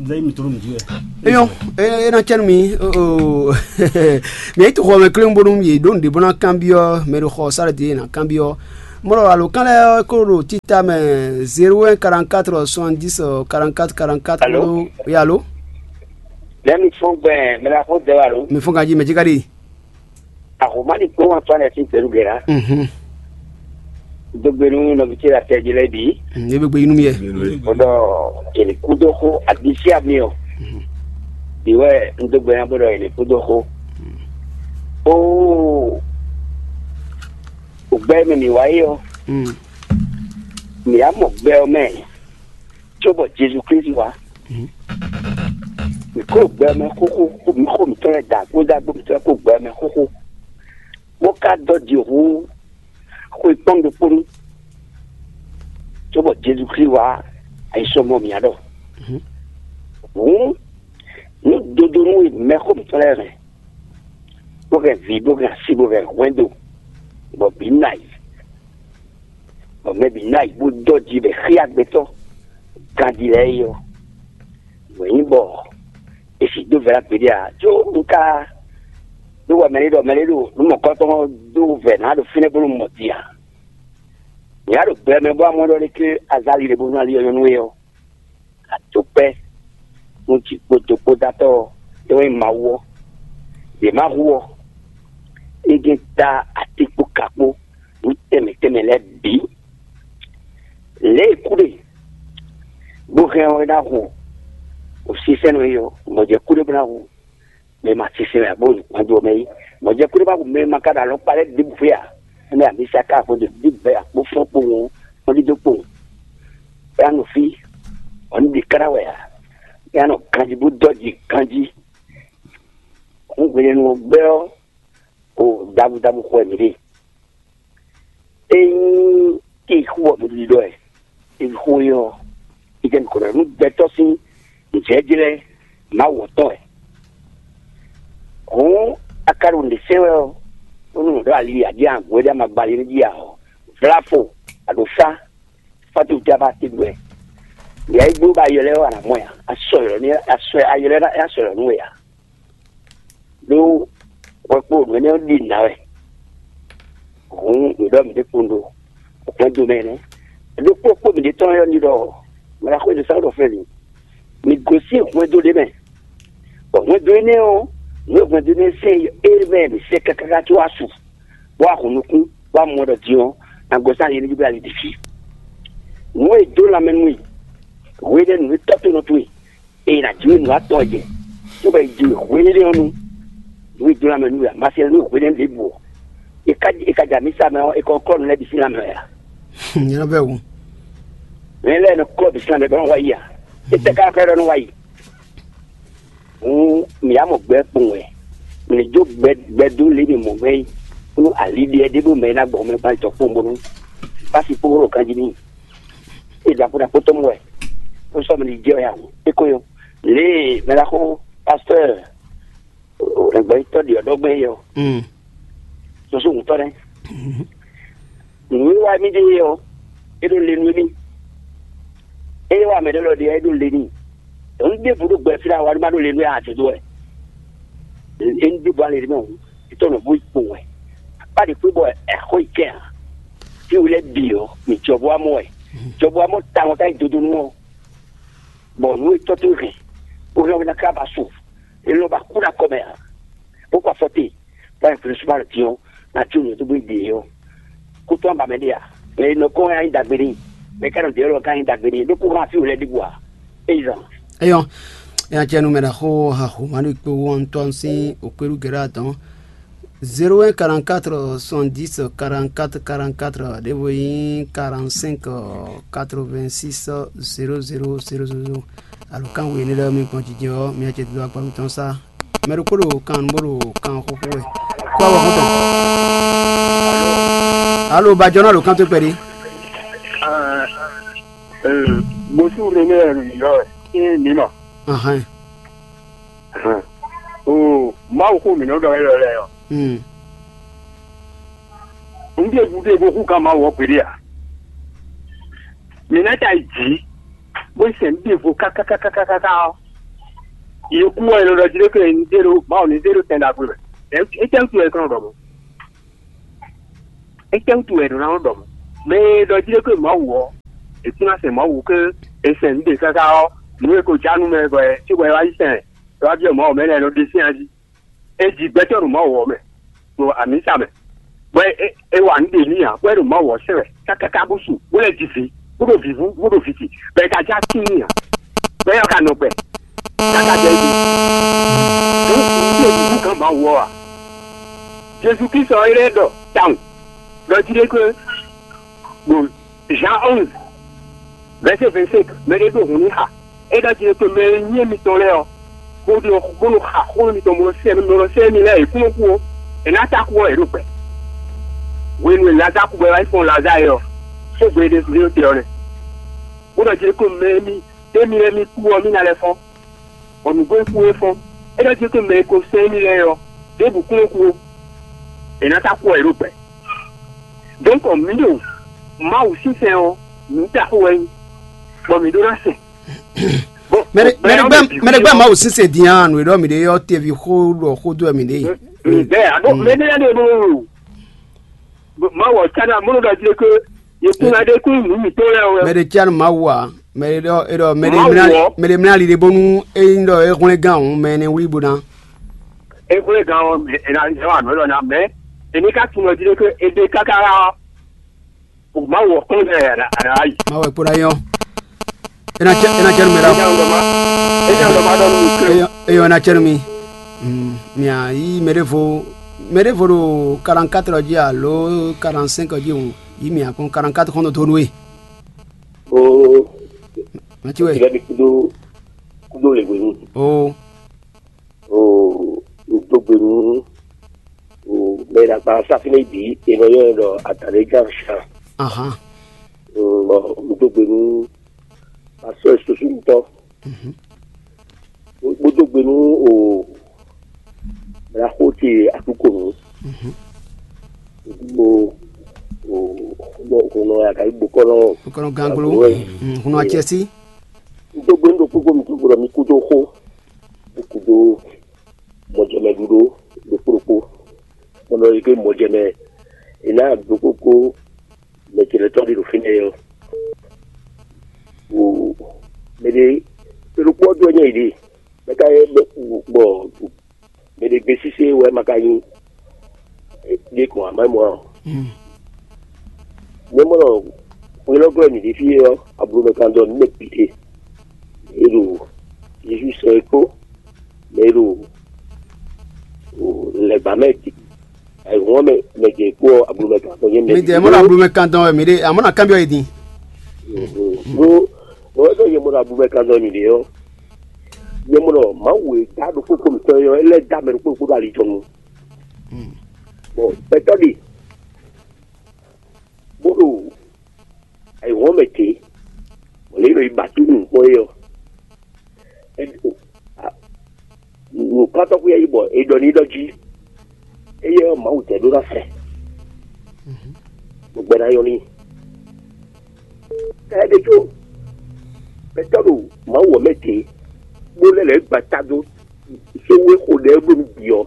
Nzɛ mi tló nǔ jí wɛ. Eyɔn, e e na cɛ nú mi. Mɛ yi to xɔ mɛ kléwún bónú yě ɖó nǔɖé bó ná kanbyɔ́ mɛ ɖo xɔ sáré din ná kanbyɔ́. Mɔ̌ ɖɔ alo kan lɛ́ɛ ko ɖo tita mɛ zéro un quarante quatre soixante dix quarante quatre quarante quatre. Alo? Oui, alo? Lɛ mi fɔn gbɛ mɛ la xɔ dɛ wa lo. Mi fɔn ganji mɛ jí ka ɖi. Ahoma ɖi kpɔ́n wan tɔn lɛ sín gbɛɖugbɛ́ la. Mhm. Dogbe nú nɔví ce la tɛ jí lɛ́ɛ bǐ. Mm, e be gbe yi nú mi yɛ. Kódɔ èlì kúdó xó abisí ami ɔ. Bí wɛ un dó gbe ná bó ɖɔ èlì kúdó xó. Ó, ògbɛ mɛ mǐ wá yé ɔ. Mm. Mǐ á mɔ gbɛ ɔ mɛ. Cóbɔ Jezu Klísu wá. Mǐ kó gbɛ ɔ́ mɛ xóxó, mǐ xo mǐtɔn lɛ́ɛ da kpódó agbo mǐtɔn lɛ́ɛ kó gbɛ ɔ́ mɛ xóxó, bó ka dɔ́ ji hú xwe kpɔ́n ɖokpó nu, cóbɔ Jezu Klísu wá ayisɔmɔ mǐ ɖɔ. Hǔn nú dodonu e mɛ xo mǐtɔn lɛ́ɛ hɛn, bó hɛn vǐ, bó hɛn asi, bó hɛn hwɛndo, bɔ bǐ nɔ ayǐ, bɔ mɛ bǐ nɔ ayǐ bó dɔ́ ji bɔ è xyá gbɛtɔ́ ganjí lɛ́ɛ é ɔ́, nǔ e nyí bɔ è sixú dó vɛ̌ ná gbeɖé ǎ. Có un ka ɖó wɛ mɛ ɖé ɖɔ mɛ ɖé ɖo nǔ mɔ̌kɔtɔn dó vɛ̌ ná ɖo fínɛ́ bónú mɔ din ǎ. Mǐ wá ɖo gbɛ mɛ bó wá mɔ ɖɔ lé ké azali ɖé bónú ali ɔ́ nyɔ́ nú we ɔ́, adokpɛ́ nú jǐ kpódó kpódátɔ́ ɔ́, é wɛ nyí Mawu ɔ́. Yě má hu ɔ́, é jɛ́n dá atínkpo kakpó nǔ tɛnmɛ tɛnmɛ lɛ́ɛ bǐ. Lě e kúɖe bó hɛn ɔ́ é ná hu o sísɛ́nɔ é ɔ́, mɔ̌ jɛ kúɖe bó ná hu mɛ e ma sísɛ́n wɛ ǎ bó nukúnmɛ dó ɔ́ mɛ é. Mɔ̌ jɛ kúɖe bó ná hu mɛ e ma ka ɖo alɔkpa lɛ́ɛ ɖěbǔ xwé ǎ. Énɛ́ amisaka xwedó bíbɛ́ akpó fɔ́n kpowun ɔ́, kpɔ́ndídó kpowun. É ná nɔ fí, bɔ nǔ ɖě ká ná wɛ ǎ. É ná nɔ ganjí bó dɔ́ ji ganjí. Hǔn hwenɛ́nu ɔ́ gbɛ́ ɔ́, o ɖabu ɖabu xɔ wɛ mǐ ɖe. Ényí kí xú ɔ́ mi ɖiɖɔ ɛ, é xó é ɔ́, é jɛ nukɔn nú gbɛtɔ́ sín nǔjlɛ́jlɛ́ Mawu ɔ́ tɔn wɛ. Hǔn a ka ɖo nǔɖé sɛ́n wɛ ɔ́, bónú nǔ ɖɔ ali aɖíagun e ɖo amagba ali nú jí ǎ ɔ́, vlá fo, aɖǒsá, fátú jaba tɛgbɛ. Yɛ é gbó bɔ ayɔ lɛ́ɛ wɛ a nǎ mɔ ya, a sɔ ylɔ̌ nú a sɔ ayɔ lɛ́ɛ ná a sɔ ylɔ̌ nú we ǎ. Ɖó hwɛ kpó nǔ énɛ́ ɔ́ ɖi nǔ ná wɛ. Hǔn nǔ ɖɔ mǐ ɖe kpowun ɖo hwɛndo mɛ nɛ́. Ɖokpó kpó mǐɖée tɔn ɔ́ ní ɖɔ mɛ ɖaxó e ɖo sá ɖɔ fɛ́n mi. Mi gosín hwɛndo ɖé mɛ, bɔ hwɛndo énɛ́ ɔ́, nǔ e hwɛndo énɛ́ sɛ́n é mɛ mǐ sɛ́ káká có wá su, bó wá hun nukún, bó wá mɔ ɖɔ din ɔ́, nǎ gosín ali énɛ́ jí bó ali ɖi fí. Nǔ e dó lanmɛ nú we, hwe ɖé nǔ e tɔ́ tonɔ towe, eye nǎ jló nǔ atɔn jɛ, cóbɔ è ji hweɖéɖé ɔ́ nu, nǔ e dó lanmɛ nú we ǎ, ma se nú hweɖénu ɖěbǔ ɔ́, è ka è ka ja mǐ sa mɛ ɔ́, è kɔ klɔ́ nǔ lɛ́ɛ bǐ sín lanmɛ wɛ ǎ. Nyɛ bɛ wu. Mɛ lɛ́ɛ nɔ klɔ́ bǐ sín lanmɛ bɔ nɔ wá yi a? Étɛ́ ká xlɛ́ ɖɔ nɔ wá yi? Hǔn mǐ yá mɔ gbɛ kpowun wɛ, mǐ ní jó gbɛ gbɛ dó lě mǐ mɔ mɛ é, nú ali ɖe ɛ ɖé bó mɛ é ná gbɔ mɛ gbán jɔ kpowun bónú fási kpó ɖo ganjí n'i. É ɖo akpó ɖaxó tɔn mɔ wɛ, bó sɔ́ mɛ ní jɛ wɛ ǎ. É ko nyɔ́. Lě e mɛ ɖaxó pastɔ́ɔ, ɖɛ̌gbɛ́yítɔ́ ɖě ɔ́ ɖɔ gbɛn é ɔ́, Mm. Soso ŋutɔ́ nɛ́. Nǔ e wa mì ɖe é ɔ́, é ɖo le nú émí. Ée wa mɛ ɖé lɔ ɖe ɔ́, é ɖo le n'i. Nǔ ɖěbǔ ɖo gbɛ fí ɖé awa ɖé má ɖo le nú ɛ ǎ, jǒ dó wɛ. Émí ɖěbǔ ale ɖé mɛ hǔn, é tɔ́ nɔ bó yi kpowun wɛ. Akpá ɖě kpé bɔ ɛ xó yi kɛ ǎ. Fí we lɛ́ɛ bǐ ɔ́, mǐ jɔ bó wá mɔ wɛ. Jɔ bó wá mɔ tawun ká yi dodonu ɔ́, bɔ nǔ e tɔ́ towe hɛn, bó hɛn we ná ká ba su, é nɔ ba kú ɖo akɔ mɛ ǎ, bó kɔ afɔ te, bó yi flu súnmọ́ alɔ din ɔ́, ná jó nǔ dó bó yi ɖe ɔ́. Kú tɔn ba mɛ ɖé ǎ, mɛ e nɔ kɔn wɛ ná nyí ɖagbe n'i, mɛ e ka nɔ ɖe ɔ́ lɔ ka nyí ɖagbe n'i, ɖó kú hɛn afí wǒ lɛ́ɛ ɖěbǔ ǎ. É yi zɔn. Eyɔn, ya cɛ numero ho ha ho manu kpe wɔntɔn sin okpeɖu gɛɖɛ atɔn. Zéro un quarante-quatre soixante-dix quarante-quatre quarante-quatre ɖěvo nyí quarante-cinq quatre-vingt-six zéro zéro zéro zéro. Alo kan we ne ɖe mi kpɔn jijɛ ɔ́, mi acɛ do akpa mitɔn sa. Mɛ ɖokpó ɖo kan bó ɖo kan xóxó wɛ. Kó awɔ xɔntɔn. Alo bajɔnɔ ɖo kan tó kpɛɖi. Bosu René yɔ ɛ ní ma. Ahɛn. O Mawu xó mǐ nɔ ɖɔ élɔ́ lɛ́ɛ ɔ́, Hmm. Un ɖe ɖuɖe bo hú gán Mawu ɔ́ gbeɖé ǎ. Mǐ ná ta yi jǐ, bó yi sɛn ɖěvo kákákákáká ɔ́, yě kú ɔ́, è nɔ ɖɔ jí ɖé ke un zé ɖó Mawu ní zé ɖó sɛn ɖagbe mɛ. Étɛ́ wútu wɛ è nɔ ɖɔ mɔ̌? Étɛ́ wútu wɛ è nɔ ná ɖɔ mɔ̌? Mɛ e ɖɔ jí ɖé ke Mawu ɔ́, è kún ná sɛn Mawu ke è sɛn nǔ ɖě káká ɔ́, nǔ e ko já nú mɛ bɔ é cí bɔ é wá yi sɛn, é wá byɔ́ Mawu mɛ lɛ́ɛ nɔ ɖe sín ají. É ji gbɛtɔ́ ɖo Mawu ɔ́ mɛ, ɖo amǐsa mɛ, bɔ é, é wa nǔ ɖe n'i ǎ, bɔ é ɖo Mawu ɔ́ sɛn wɛ kákáká bó su, bó lɛ́ ji vǐ, bó ɖo vǐvú, bó ɖo vǐ ce, bɔ é ka já tíin ǎ, bɔ é ka nɔ gbɛ, káká jɛ é ɖe. Nǔ nǔ ɖe nǔ gán Mawu ɔ́ ǎ. Jezu Klísu ɔ́, é lɛ́ ɖɔ tawun ɖɔ jí ɖé xwé ɖo Jean onze, vɛ̌sé vɛ̌sɛ́nk, mɛ ɖé ɖo hǔn n'i xa. É ɖɔ jí ɖé to mɛ e nyí émítɔn lɛ́ɛ ɔ́, bó ɖo bó nɔ xa xó émítɔn bó nɔ sɛ́ bó nɔ sɛ́ émí lɛ́ɛ è kún nɔ kú ó. È nǎ ta kú ɔ́, è ɖo gbɛ. Hwenu e Lazaa kú bɔ é wá yi fɔ́n Lazaa é ɔ́, xógbe e ɖésú ɖé te ɔ́ nɛ́. Bó ɖɔ jí ɖé to mɛ e mì ɖé mi lɛ́ɛ mì kú ɔ́, mì ná lɛ́ fɔ́n, bɔ nǔgbó e kú é fɔ́n. É ɖɔ jí ɖé to mɛ e ko sɛ́ émí lɛ́ɛ ɔ́, ɖěbǔ kún nɔ kú ó. È nǎ ta kú ɔ́, è ɖo gbɛ. Donc mǐ ɖo Mawu sínsɛn ɔ́, mǐ da xó wɛ nyí, bɔ mǐ ɖó ná sɛn. Mɛ ɖe gbɛ Mawu sínsɛn din a nǔ e ɖɔ mǐ ɖe ɔ́ teví xó ɖɔ xó dó wɛ mǐ ɖe. Ŋgbɛ aɖo mɛ ɖe lɛ́ɛ ɖe ɖo Mawu ɔ́ tsá ná mɔnɔ ɖɔ jí ɖé ké yě kún ná ɖe kún nǔ mǐtɔn lɛ́ɛ wɛ. Mɛ ɖe cia nú Mawu a? Mɛ ɖe ɖɔ e ɖɔ mɛ ɖe mlá mɛ ɖe mlá ali ɖe bónú é nyí ɖɔ é hwlɛ́n gán hǔn mɛ énɛ́ wlí bó ná. É hwlɛ́n gán ɔ́, è nǎ zɔ́n anǔ élɔ́ ná mɛ è ní ká tunwun jí ɖé ké é ɖe káká ɔ́. Mawu ɔ́ kplɔ́n ɛ a nǎ yi. Mawu ɛ kpó ná nyɔ́. É ná cɛ é ná cɛ nú mɛ ɖá. Eyɔn é ná cɛ nú mi. Mia yí mɛ ɖěvo mɛ ɖěvo ɖo quarante-quatre jí alo quarante-cinq jí hǔn, yí mia kpɔ́n quarante-quatre xɔ́n dó nú we. Oo. Mɛtí wɛ. Ìlẹ́ mi kúdó kúdó lè wenu. Oo. Oo, un dó gbe nú mɛ e ɖo agba ɔ́ sá fínɛ́ bǐ, è nɔ ylɔ́ ɛ ɖɔ Adǎlégán Shan. Ahan. Bɔ un dó gbe nú pastɔ́ susúnutɔ́, bó dó gbe nú o Blaxó ce Aklúkonu, bó o hunɔ hunɔ Agayi gbokɔnɔ Gbokɔnɔ Ganglo, hunɔ Acɛsí. Un dó gbe nú ɖokpó gbó mi dó gbe ɖɔ mi kúdó xó. Kúdó mɔjɛmɛ ɖuɖó ɖokpó ɖokpó. Bɔ nɔ yi ké mɔjɛmɛ è nǎ ɖokpó kpó mɛ ce lɛ́ɛ tɔn ɖi ɖo fínɛ́ ɔ́. Ɖe, ɖokpó ɔ́ dó nyɛ yi ɖe. Mɛ ka yɛ bɔ mɛ ɖe gbe sise wɛ ma ka nyi ɖe kɔn amɛ mɔ ɔ. Nyɛ mɔ nɔ hwelɔ́glɔ́ mǐ ɖe fí ɔ́, ablu mɛ kan dɔ nǔ mɛ bǐ ɖe. E ɖo Jezu sɔ e kpó mɛ e ɖo lɛ̌gbǎ mɛ ayǐhɔ́n mɛ mɛ jɛ kpó ɔ́, ablu mɛ kan dɔ nyɛ mɛ. Mi jɛ mɔ ɖo ablu mɛ kan dɔn wɛ mi ɖe, amɔ na kanbyɔ yi din. Ɖó bɔ é sɔ nyɛ mɔ ɖo ablu mɛ kan dɔn mǐ ɖe ɔ́, nyɛ mɔ ɖɔ Mawu e dá ɖokpó kpo mǐtɔn é ɔ́, é lɛ́ dá mɛ ɖokpó ɖokpó ɖo ali tɔn nu. Bɔ gbɛtɔ́ ɖe bó ɖo ayǐhɔ́n mɛ ce, bɔ lě e è nɔ yi ba tó nǔ kpɔ́n é ɔ́, é ɖo nǔkpatɔ́ xwíá yi bɔ è ɖɔ n'i ɖɔ jí éyɛ́ ɔ́, Mawu jɛ ɖó ná sɛ, bɔ gbɛ ná nyɔ́ n'i. Ká ɛ ɖe có gbɛtɔ́ ɖo Mawu ɔ́ mɛ ce, bó lɛ́ lɛ̌ gbata dó sówéxo ɖɛ̌ ɖo nú bǐ ɔ́,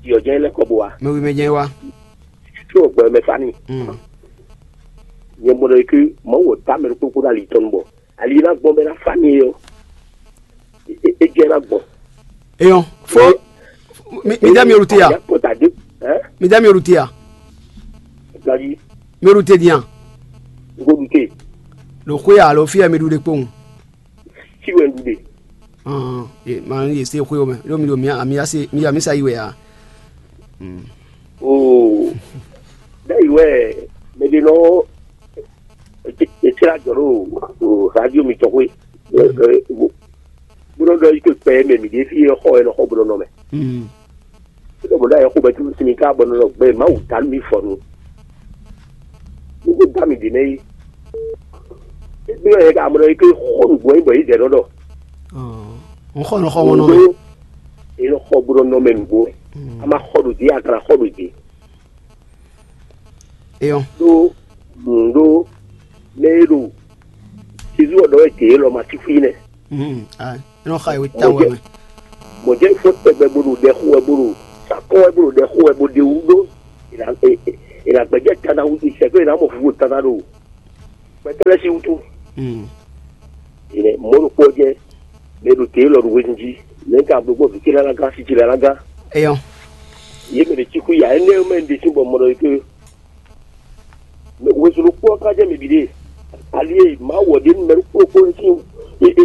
bǐ ɔ́ jɛ́n lɛ́ kɔ bó wá. Mɛ wi mɛ jɛ́n wá. Có gbɛ mɛ fa n'i. Nyɛ mɔ ɖɔ é ké Mawu ɔ́ dá mɛ ɖokpó kpó ɖo ali tɔn nu bɔ ali e ná gbɔn bɔ é ná fa n'i é ɔ́, é jɛ ná gbɔn. Eyɔn fo mi dá mi olùtí ya. Kɔta dé. Ɛ mi dá mi olùtí ya. Gaji. Mi olùtí diyan. Ngolute. Lo xwé ya lo fi ya mi ɖu ɖe kpowun. Tí wɛ ɖu ɖe. Ɔn e ma ye se xwé o mɛ lo mi lo mi ami ya se mi ami sa yi wɛ ya. Oo. Ɖe yi wɛ mɛ ɖe nɔ. Etsila jɔ ɖo radio mitɔn xwé. Bó nɔ ɖɔ yi ke kpɛ mɛ mi ɖe fi xɔ ɛ nɔ xɔ bó nɔ nɔ mɛ. Ɖɔ bɔ ɖo ayɛxó bɛ tún sinmi ká bɔ nɔ gbɛ Mawu ta nú mi fɔ nu. Nú kó da mi ɖě nɛ yi. Égbé yɛ ká mɔ ɖɔ yi ké xɔ nǔgbó yi bɔ yi dɛ nɔ ɖɔ. N xɔ nɔ xɔ mɔ nɔ mɛ. Yi nɔ xɔ bó nɔ nɔ mɛ nǔgbó. A ma xɔ ɖo dě, a kana xɔ ɖo dě. Eyɔn. Ɖó nǔ ɖó mɛ e ɖo Jezu ɔ́ ɖɔ wɛ dě élɔ́ ma sí fí nɛ́. Ɛ nɔ xa ìwé tawun wɛ mɛ. Mɔ̌ jẹ́ fó tɛgbɛ bó ɖo ɖɛ xo wɛ bó ɖo sakɔ́ wɛ bó ɖo ɖɛ xo wɛ bó ɖe wú ɖó. È nǎ gbɛjɛ tana wútu sɛgbɛ è nǎ mɔ fúfú tana ɖo gbɛtɛ́ lɛ́ɛ sín wútu. Mɔ̌ ɖokpó ɔ́ jẹ́ mɛ ɖo tě lɔ ɖo hwenu jí. Mɛ ka bló gbɔn vǐ ce lɛ́ɛ ná gán, sí ce lɛ́ɛ ná gán. Eyɔn. Yě mɛ ɖě cí xú ya énɛ́ mɛ ɖě sín bɔ mɔ ɖɔ yě ké. Mɛ wezun ɖokpó ɔ́ ka jẹ́ mɛ bǐ ɖe. Ali e Mawu ɔ́ ɖe nú mɛ ɖokpó ɖokpó é sín